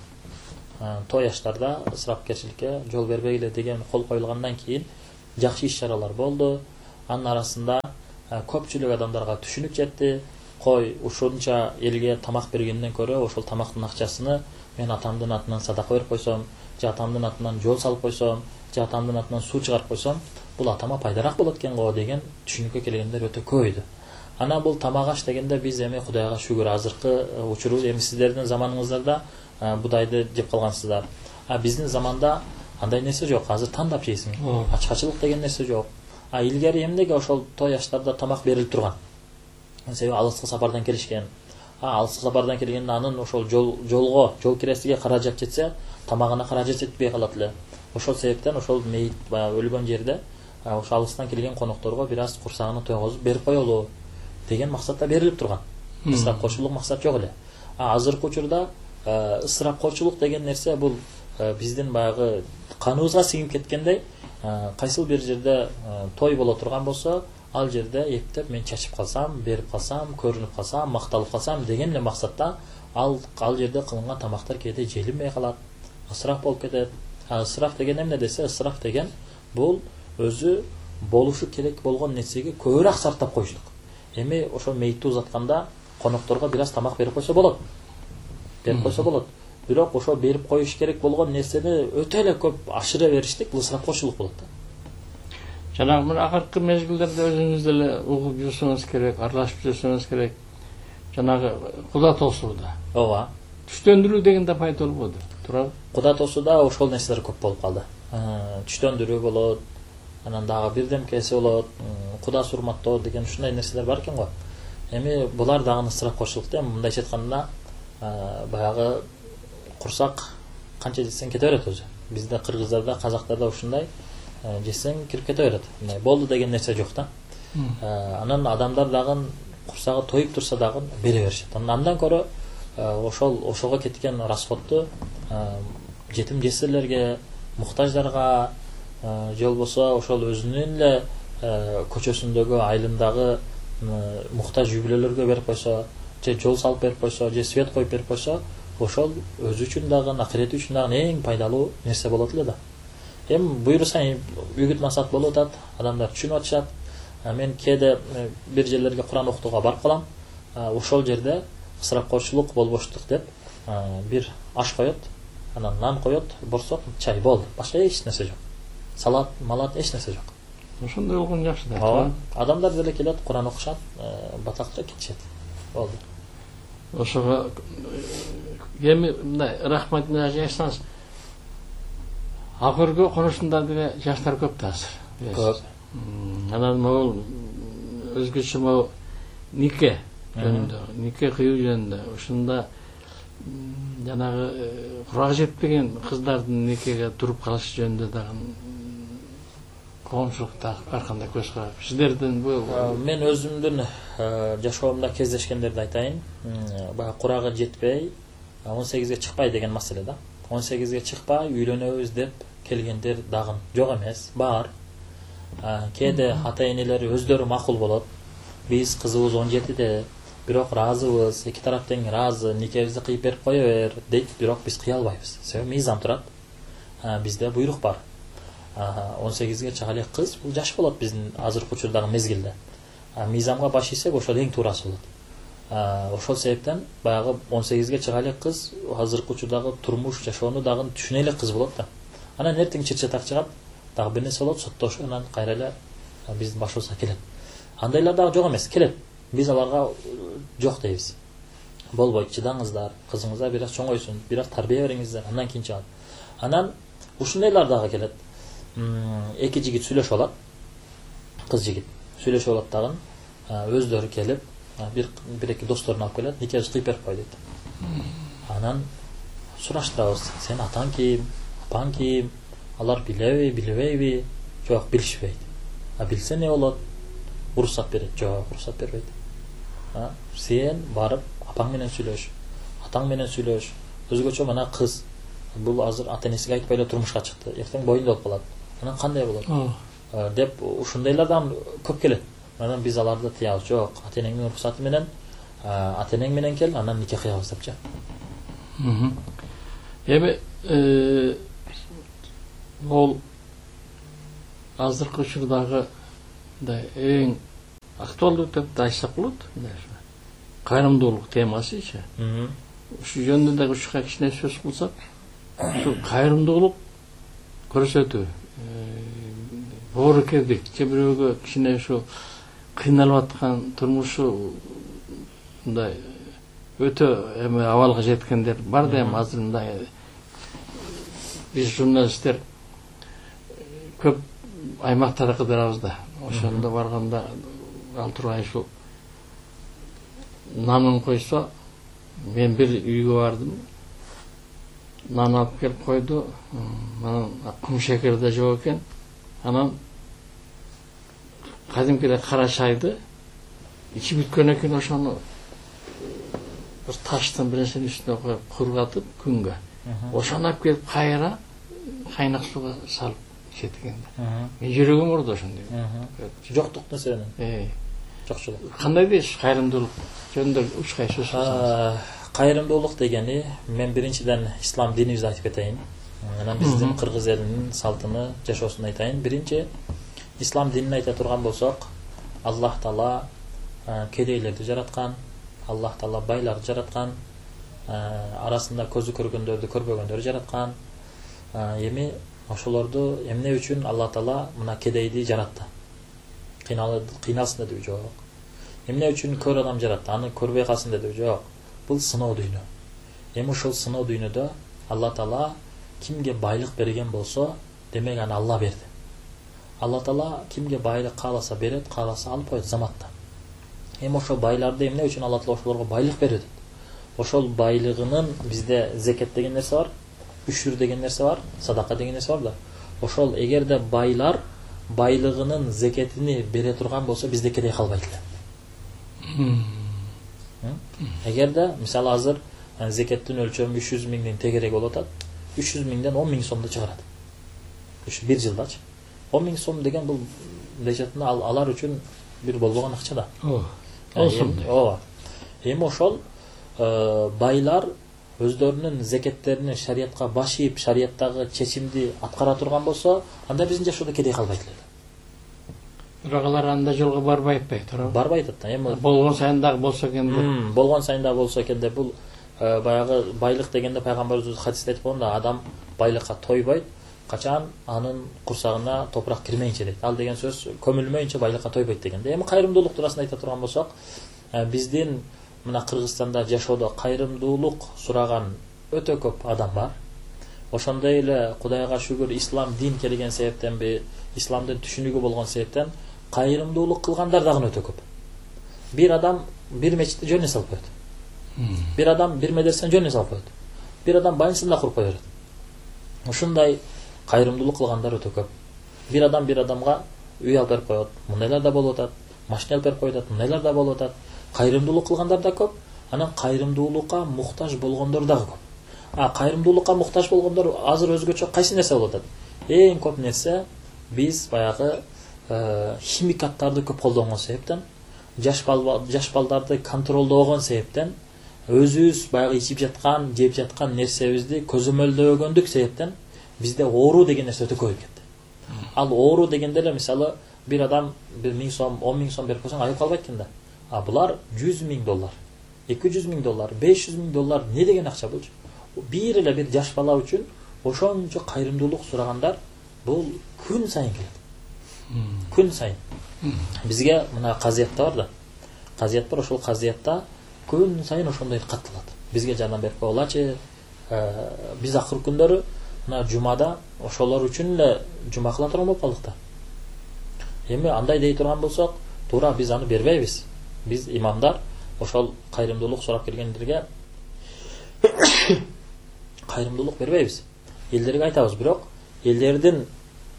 той аштарда ысырапкерчиликке жол бербейле деген кол коюлгандан кийин жакшы иш-чаралар болду. Анын арасында көпчүлүк адамдарга түшүнүк жетти. Кой ушунча элге тамак бергенден көрө ошол тамактын акчасыны мен атамдын атынан садака берип койсом, же атамдын атынан жол салып койсом, же атамдын атынан суу чыгарып койсом, бул атама пайдараак болот экен го деген түшүнүккө келгендер өтө көп иди. Ана бул тамак аш дегенде биз эми Кудайга шүгүр азыркы учуру эми сиздердин заманыңыздарда будайды жеп калгансыздар. Биздин заманда андай нерсе жок. Азыр тандап жейсиң. Ачкачылык деген нерсе жок. Илгери эмнеге ошол той аштарда тамак берилип турган? Себеби алыскы сапардан келишкен. Алыскы сапардан келгенде анын ошол жол киресиге каражат жетсе, тамагына каражат жетпей калат эле. Ошол себептен ошол мейит өлгөн жерде ошол алыстан келген конокторго бир аз курсагына тойгозуп берип коелу деген максатта берилип турган. Ысырапкорчулук максат жок эле. Азыркы учурда ысырапкорчулук деген нерсе бул биздин баягы каныбызга сиңип кеткендей, кайсыл бир жерде той боло турган болсо, ал жерде эптеп мен чачып калсам, берип калсам, көрүнүп калсам, макталып калсам деген эле максатта ал жерде кылынган тамактар кээде желинбей калат, ысырап болуп кетет. Ысырап деген эмне десе, ысырап деген бул өзү болушу керек болгон нерсеге көбүрөөк сарптап коюштук. Эми ошол мейтти узатканда конокторго бир аз тамак берип койсо болот. Бирок ошол берип коюш керек болгон нерсени өтө эле көп ашыра бериштик, бул ысырапкорчулук болот да. Жанагы мына акыркы мезгилдерде өзүңүз деле угуп жүрсөңүз керек, аралашып жүрсөңүз керек. Жанагы куда тосууда. Ооба. Түштөндүрүү деген да пайда болбоду, туурабы? Куда тосууда ошол нерселер көп болуп калды. Түштөндүрүү болот, анан дагы бирдемкеси болот, куда сурматтоо деген ушундай нерселер бар экен го. Эми булар дагы ысырапкорчулукта, мындайча айтканда, баягы курсак канча жесең кете берет өзү. Бизде кыргыздарда, казактарда ушундай жесең кирип кете берет. Мындай болду деген нерсе жок да. Анан адамдар дагы курсагы тоюп турса дагы бере беришет. Андан көрө ошого кеткен расходту жетим жесирлерге, муктаждарга, же болбосо ошол өзүнүн эле көчөсүндөгү айылындагы муктаж үй бүлөлөргө берип койсо, же жол салып берип койсо, же свет коюп берип койсо, ошол өзү үчүн дагы, акырети үчүн дагы эң пайдалуу нерсе болот эле да. Эми буюрса үгүт насаат болуп атат, адамдар түшүнүп атышат. Мен кээде бир жерлерге Куран окутууга барып калам. Ошол жерде ысырапкорчулук болбоштук деп бир аш коет, анан нан коет, борсок, чай болду. Башка эч нерсе жок. Салат, малат эч нерсе жок. Ошондой болгон жакшы да. Адамдар деле келет, Куран окушат, батакча кетишет. Болду. Ошого эми мындай рахмат менен айтсаңыз, акыркы конушунда деле жаштар көп да азыр. Көп. Анан могул өзгөчө могул нике жөнүндө, нике кыюу жөнүндө, ушунда жанагы курагы жетпеген кыздардын никеге туруп калышы жөнүндө дагы коомчулукта ар кандай көз карап. Сиздердин бул мен өзүмдүн жашоомдо кездешкендерди айтайын. Баягы курагы жетпей, 18ге чыкпай деген маселе да. 18ге чыкпай үйлөнөбүз деп келгендер дагы жок эмес, бар. Кээде ата-энелери өздөрү макул болот. Биз кызыбыз 17де, бирок ыраазыбыз, эки тарап тең ыраазы, никебизди кыйып берип кое бер дейт, бирок биз кыя албайбыз. Себеби мыйзам турат. Бизде буйрук бар. 18ге чыга элек кыз бул жаш болот биздин азыркы учурдагы мезгилде. Мыйзамга баш ийсек ошол эң туурасы болот. Ошол себептен баягы 18ге чыга элек кыз азыркы учурдагы турмуш жашоону дагы түшүнө элек кыз болот да. Анан эртең чыр-чатак чыгат, дагы бир нерсе болот, соттошуп, анан кайра эле биздин башыбызга келет. Андайлар дагы жок эмес, келет. Биз аларга жок дейбиз. Болбойт, чыдаңыздар, кызыңызга бир аз чоңойсун, бир аз тарбия бериңиздер, андан кийин чыгат. Анан ушундайлар дагы келет. Эки жигит сүйлөшүп алат. Кыз жигит сүйлөшүп алат дагы, өздөрү келип, бир эки досторун алып келет, никебизди кыйып берип кой дейт. Анан сураштырабыз, сен атаң ким, апаң ким, алар билеби, билбейби? Жок, билишпейт. Билсе не болот? Уруксат берет. Жок, уруксат бербейт. Сен барып апаң менен сүйлөш, атаң менен сүйлөш. Өзгөчө мына кыз бул азыр ата энесиге айтпай эле турмушка чыкты, эртең боюнда болуп калат. Анан кандай болот? Деп ушундайлардан көп келет. Анан биз аларды тыябыз. Жок, ата энеңдин уруксаты менен ата энең менен кел, анан никах кыябыз депчи. Эми бул азыркы учурдагы эң актуалдуу деп айтсак болот. Кайрымдуулук темасычы. Ушу жөнүндө дагы ушуга кичине сөз кылсак, ушу кайрымдуулук көрсөтүү, боорукердик же бирөөгө кичине ушу кыйналып аткан турмушу мындай өтө эми абалга жеткендер бар да, эми азыр мындай биз журналисттер көп аймактарга кыдырабыз да. Ошондо барганда ал тургай ушу нанын койсо, мен бир үйгө бардым, нан алып келип койду, анан кум шекер да жок экен. Анан кадимкидей кара чайды ичип бүткөн экен, ошону бир таштын бирнерсенин үстүнө коюп кургатып күнгө. Ошону алып келип кайра кайнак сууга салып ичет экен да. Мен жүрөгүм урду ошондой. Жоктук нерсенин. Жокчулук. Кандай дейсиз кайрымдуулук жөнүндө учкай сөз кылсаңыз? Кайрымдуулук дегени, мен биринчиден ислам динибизди айтып кетейин. Анан биздин кыргыз элинин салтыны, жашоосун айтайын. Биринчи, ислам динин айта турган болсок, Аллах Таала кедейлерди жараткан, Аллах Таала байларды жараткан, арасында көзү көргөндөрдү, көрбөгөндөрдү жараткан. Эми ошолорду эмне үчүн Аллах Таала мына кедейди жаратты? Кыйналсын деди жок. Эмне үчүн көр адам жаратты? Аны көрбөй калсын деди жок. Бул сыноо дүйнө. Эми ошол сыноо дүйнөдө Аллах Таала кимге байлык берген болсо, демек аны Алла берди. Аллах Таала кимге байлык кааласа берет, кааласа алып коет заматта. Эми ошол байларды эмне үчүн Аллах Таала ошолорго байлык берет? Ошол байлыгынын бизде зекет деген нерсе бар, үшүр деген нерсе бар, садака деген нерсе бар да. Ошол эгерде байлар байлыгынын зекетини бере турган болсо, бизде кедей калбайт эле. Эгерде мисалы азыр зекеттин өлчөмү 300 миңдин тегерек болуп атат, 300 миңден 10 миң сомду чыгарат. Ушу бир жылдачы. 10 миң сом деген бул лежатына алар үчүн бир болбогон акча да. Ооба. Эми ошол байлар өздөрүнүн зекеттерини шариятка баш ийип, шарияттагы чечимди аткара турган болсо, анда биздин жашоодо кедей калбайт эле. Бирок алар анда жолго барбайт да, туурабы? Барбайт да. Эми болгон сайын дагы болсо экен деп. Болгон сайын дагы болсо экен деп, бул баягы байлык дегенде пайгамбарыбыз хадисте айтып койгон да, адам байлыкка тойбойт, качан анын курсагына топурак кирмейинче дейт. Ал деген сөз көмүлмөйүнчө байлыкка тойбойт дегенде. Эми кайрымдуулук туурасында айта турган болсок, биздин мына Кыргызстанда жашоодо кайрымдуулук сураган өтө көп адам бар. Ошондой эле Кудайга шүгүр ислам дин келген себептенби, исламдын түшүнүгү болгон себептен кайрымдуулук кылгандар дагы өтө көп. Бир адам бир мечитти жөнүнө салып коет. Бир адам бир медресени жөнүнө салып коет. Бир адам больницаны куруп кое берет. Ушундай кайрымдуулук кылгандар өтө көп. Бир адам бир адамга үй алып берип коет. Мындайлар да болуп атат. Машина алып берип коет, мындайлар да болуп атат. Кайрымдуулук кылгандар да көп. Анан кайрымдуулукка муктаж болгондор дагы көп. Кайрымдуулукка муктаж болгондор азыр өзгөчө кайсы нерсе болуп атат? Эң көп нерсе биз баягы химикаттарды көп колдонгон себептен, жаш балдарды контролдогон себептен, өзүбүз баягы ичип жаткан, жеп жаткан нерсебизди көзөмөлдөгөндүк себептен бизде оору деген нерсе өтө көбөйүп кетти. Ал оору дегенде эле мисалы бир адам 1000 сом, 10 миң сом берип койсоң айып калбайт экен да. Булар $100 миң, $200 миң, $500 миң не деген акча болчу? Бир эле бир жаш бала үчүн ошончо кайрымдуулук сурагандар бул күн сайын келет. Күн сайын. Бизге мына казиятта бар да. Казият бар, ошол казиятта күн сайын ошондой катталат. Бизге жардам берип койгулачы. Биз акыр күндөрү мына жумада ошолор үчүн эле жума кыла турган болуп калдык да. Эми андай дей турган болсок, туура биз аны бербейбиз. Биз имамдар ошол кайрымдуулук сурап келгендерге кайрымдуулук бербейбиз. Элдерге айтабыз, бирок элдердин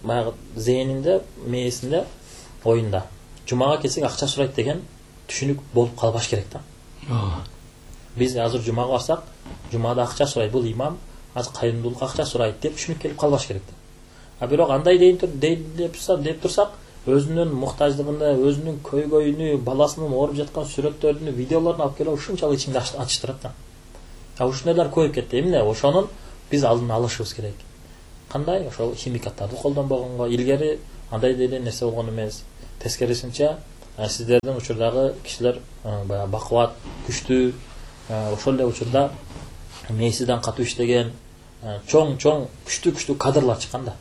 баягы зээнинде, мээсинде, оюнда жумага келсек акча сурайт деген түшүнүк болуп калбаш керек да. Биз азыр жумага барсак, жумада акча сурайт. Бул имам азыр кайрымдуулук акча сурайт деп түшүнүп келип калбаш керек да. А бирок андай деп турсак, өзүнүн муктаждыгын, өзүнүн көйгөйүнү, баласынын ооруп жаткан сүрөттөрүн, видеолорун алып келип ушунчалык ичинде ачыштырат да. А ушундайлар көбөйүп кетти. Эмне ошонун биз алдын алышыбыз керек. Кандай? Ошол химикаттарды колдонбогонго, илгери андай деле нерсе болгон эмес. Тескерисинче, сиздердин учурдагы кишилер баягы бакубат, күчтүү, ошол эле учурда мээсиден катуу иштеген, чоң күчтүү кадрлар чыккан да.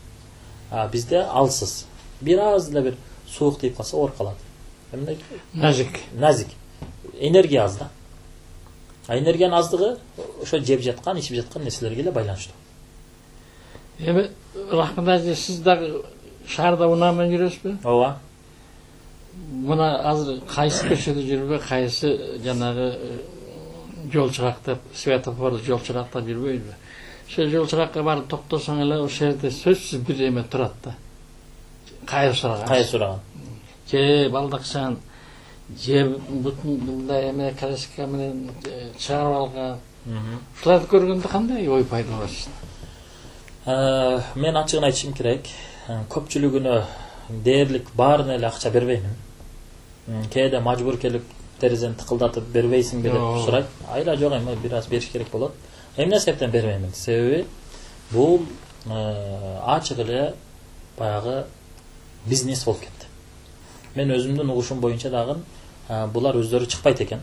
А бизде алсыз. Бир аз эле бир суук тийип калса ооруп калат. Эмне? Назик. Энергия аз да. А энергиянын аздыгы ошо жеп жаткан, ичип жаткан нерселерге эле байланыштуу. Эми Рахмат ажы, сиз дагы шаарда унаа менен жүрөсүзбү? Ооба. Мына азыр кайсы көчөдө жүрбөй, кайсы жанагы жол чырактап, светофор жол чырактап жүрбөйбү? Ошо жол чыракка барып токтосоң эле ошол жерде сөзсүз бир эме турат да. Кайыр сураган. Же балдакчан, же мындай эме краска менен чыгарып алган. Ушуларды көргөндө кандай ой пайда болот? Мен ачыгын айтышым керек. Көпчүлүгүнө дээрлик баарына эле акча бербеймин. Кээде мажбур келип терезени тыкылдатып бербейсиңби деп сурайт. Айла жок, эми бир аз бериш керек болот. Эмне себептен бербеймин? Себеби бул ачык эле баягы бизнес болуп кетти. Мен өзүмдүн угушум боюнча дагы булар өздөрү чыкпайт экен.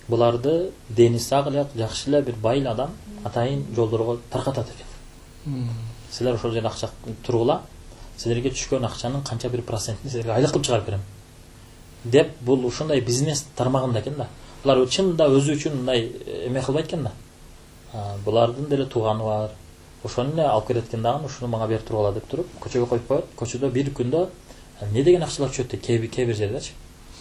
Буларды дени сак эле, жакшы эле бир бай адам атайын жолдорго таркатат экен. Силер ошол жерде акча тургула, силерге түшкөн акчанын канча бир процентин силерге айлык кылып чыгарып берем деп, бул ушундай бизнес тармагында экен да. Булар чынында өзү үчүн мындай эме кылбайт экен да. Булардын деле тууганы бар. Ошону эле алып келет экен дагы, ушуну мага берип тургула деп туруп, көчөгө коюп коет. Көчөдө бир күндө не деген акчалар чөттү, кээ бир жерлерчи.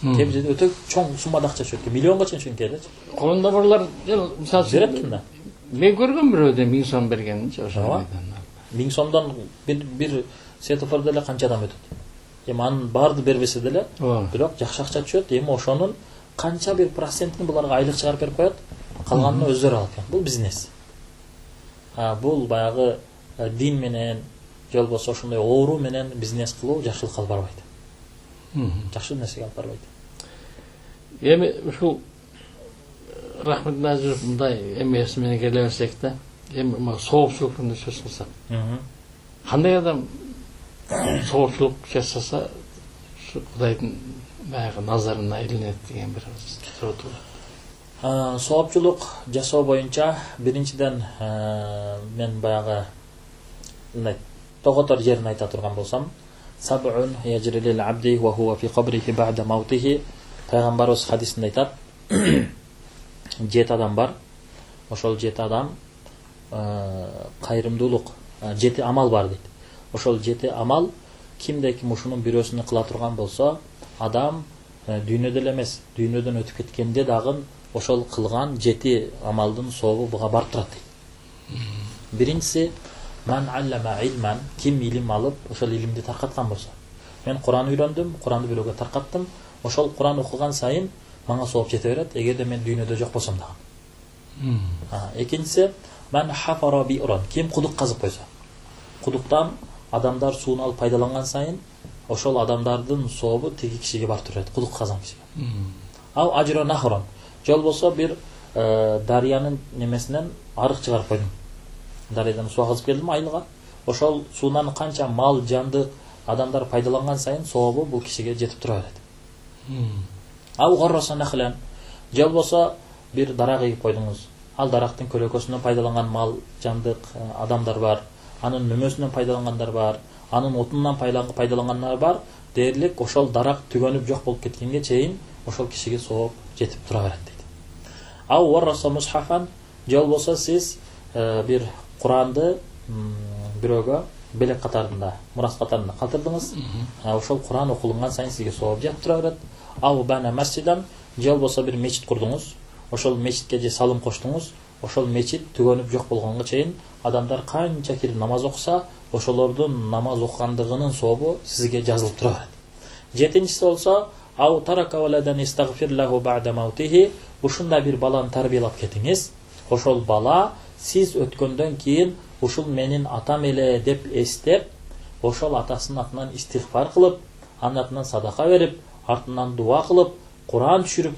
Кээ бир жерде өтө чоң суммада акча чөттү, миллионго чейин чөккөн келечи. Колунда бурлар мисалы берет экен да. Мен көргөм бирөөдө 1000 сом бергенинчи ошо. 1000 сомдон бир светофордо эле канча адам өтөт. Эми анын баарды бербесе деле, бирок жакшы акча түшөт. Эми ошонун канча бир процентин буларга айлык чыгарып берип коет, калганын өздөрү алат экен. Бул бизнес. Бул баягы дин менен, же болбосо ошондой оору менен бизнес кылуу жакшылыкка алып барбайт. Жакшы нерсеге алып барбайт. Эми ушул Рахмат Назир мындай эмеси менен келе берсек да, эми соопчулуктун сөз кылсак. Кандай адам соопчулук жасаса Кудайдын баягы назарына илинет деген бир суроо туурат. Соопчулук жасоо боюнча биринчиден мен баягы мындай тоготор жерин айта турган болсам, саб'ун яжрилил абди ва хува фи кабрихи бa'da маутихи. Пайгамбарыбыз хадисинде айтат, 7 адам бар. Ошол 7 адам кайрымдуулук, 7 амал бар дейт. Ошол 7 амал кимде ким ушунун бирөөсүнө кыла турган болсо, адам дүйнөдө эле эмес, дүйнөдөн өтүп кеткенде дагы ошол кылган 7 амалдын сообу буга барып турат дейт. Биринчиси, ман аллама илман, ким илим алып, ошол илимди таркаткан болсо. Мен Куран үйрөндүм, Куранды бирөөгө таркаттым. Ошол Куран окуган сайын мага сооп жете берет, эгерде мен дүйнөдө жок болсом дагы. Экинчиси, ман хафара би'ран, ким кудук казып койсо. Кудуктан адамдар сууну алып пайдаланган сайын ошол адамдардын сообу тиги кишиге барып турат, кудук казган кишиге. Ал ажра нахран, же болбосо бир дарыянын немесинен арык чыгарып койдум. Дарыядан суу казып келдим айылга. Ошол суунан канча мал, жандык адамдар пайдаланган сайын сообу бул кишиге жетип тура берет. Ал горроса нахлан, же болбосо бир дарак эгип койдуңуз. Ал дарактын көлөкөсүнөн пайдаланган мал, жандык адамдар бар. Анын мөмөсүнөн пайдалангандар бар, анын отунан пайдалангандар бар. Дээрлик ошол дарак түгөнүп жок болуп кеткенге чейин ошол кишиге сооп жетип тура берет дейт. Ал варраса мусхафан, же болбосо сиз бир Куранды бирөөгө белек катарында, мурас катарында калтырдыңыз. Ошол Куран окулунган сайын сизге сооп жетип тура берет. Ал бана масжидан, же болбосо бир мечит курдуңуз. Ошол мечитке же салым коштуңуз. Ошол мечит түгөнүп жок болгонго чейин адамдар канча кирип намаз окуса, ошолордун намаз окугандыгынын сообу сизге жазылып тура берет. Жетинчиси болсо, ау тарака валадан истагфир лаху бa'da маутихи. Ушундай бир баланы тарбиялап кетиңиз. Ошол бала сиз өткөндөн кийин ушул менин атам эле деп эстеп, ошол атасынын атынан истигфар кылып, анын атынан садака берип, артынан дуа кылып, Куран түшүрүп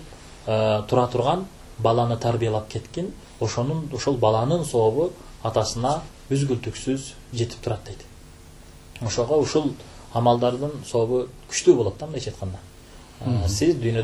тура турган баланы тарбиялап кеткен, ошол баланын сообу атасына үзгүлтүксүз жетип турат дейт. Ошого ушул амалдардын сообу күчтүү болот да, мындайча айтканда. Сиз дүйнөдөн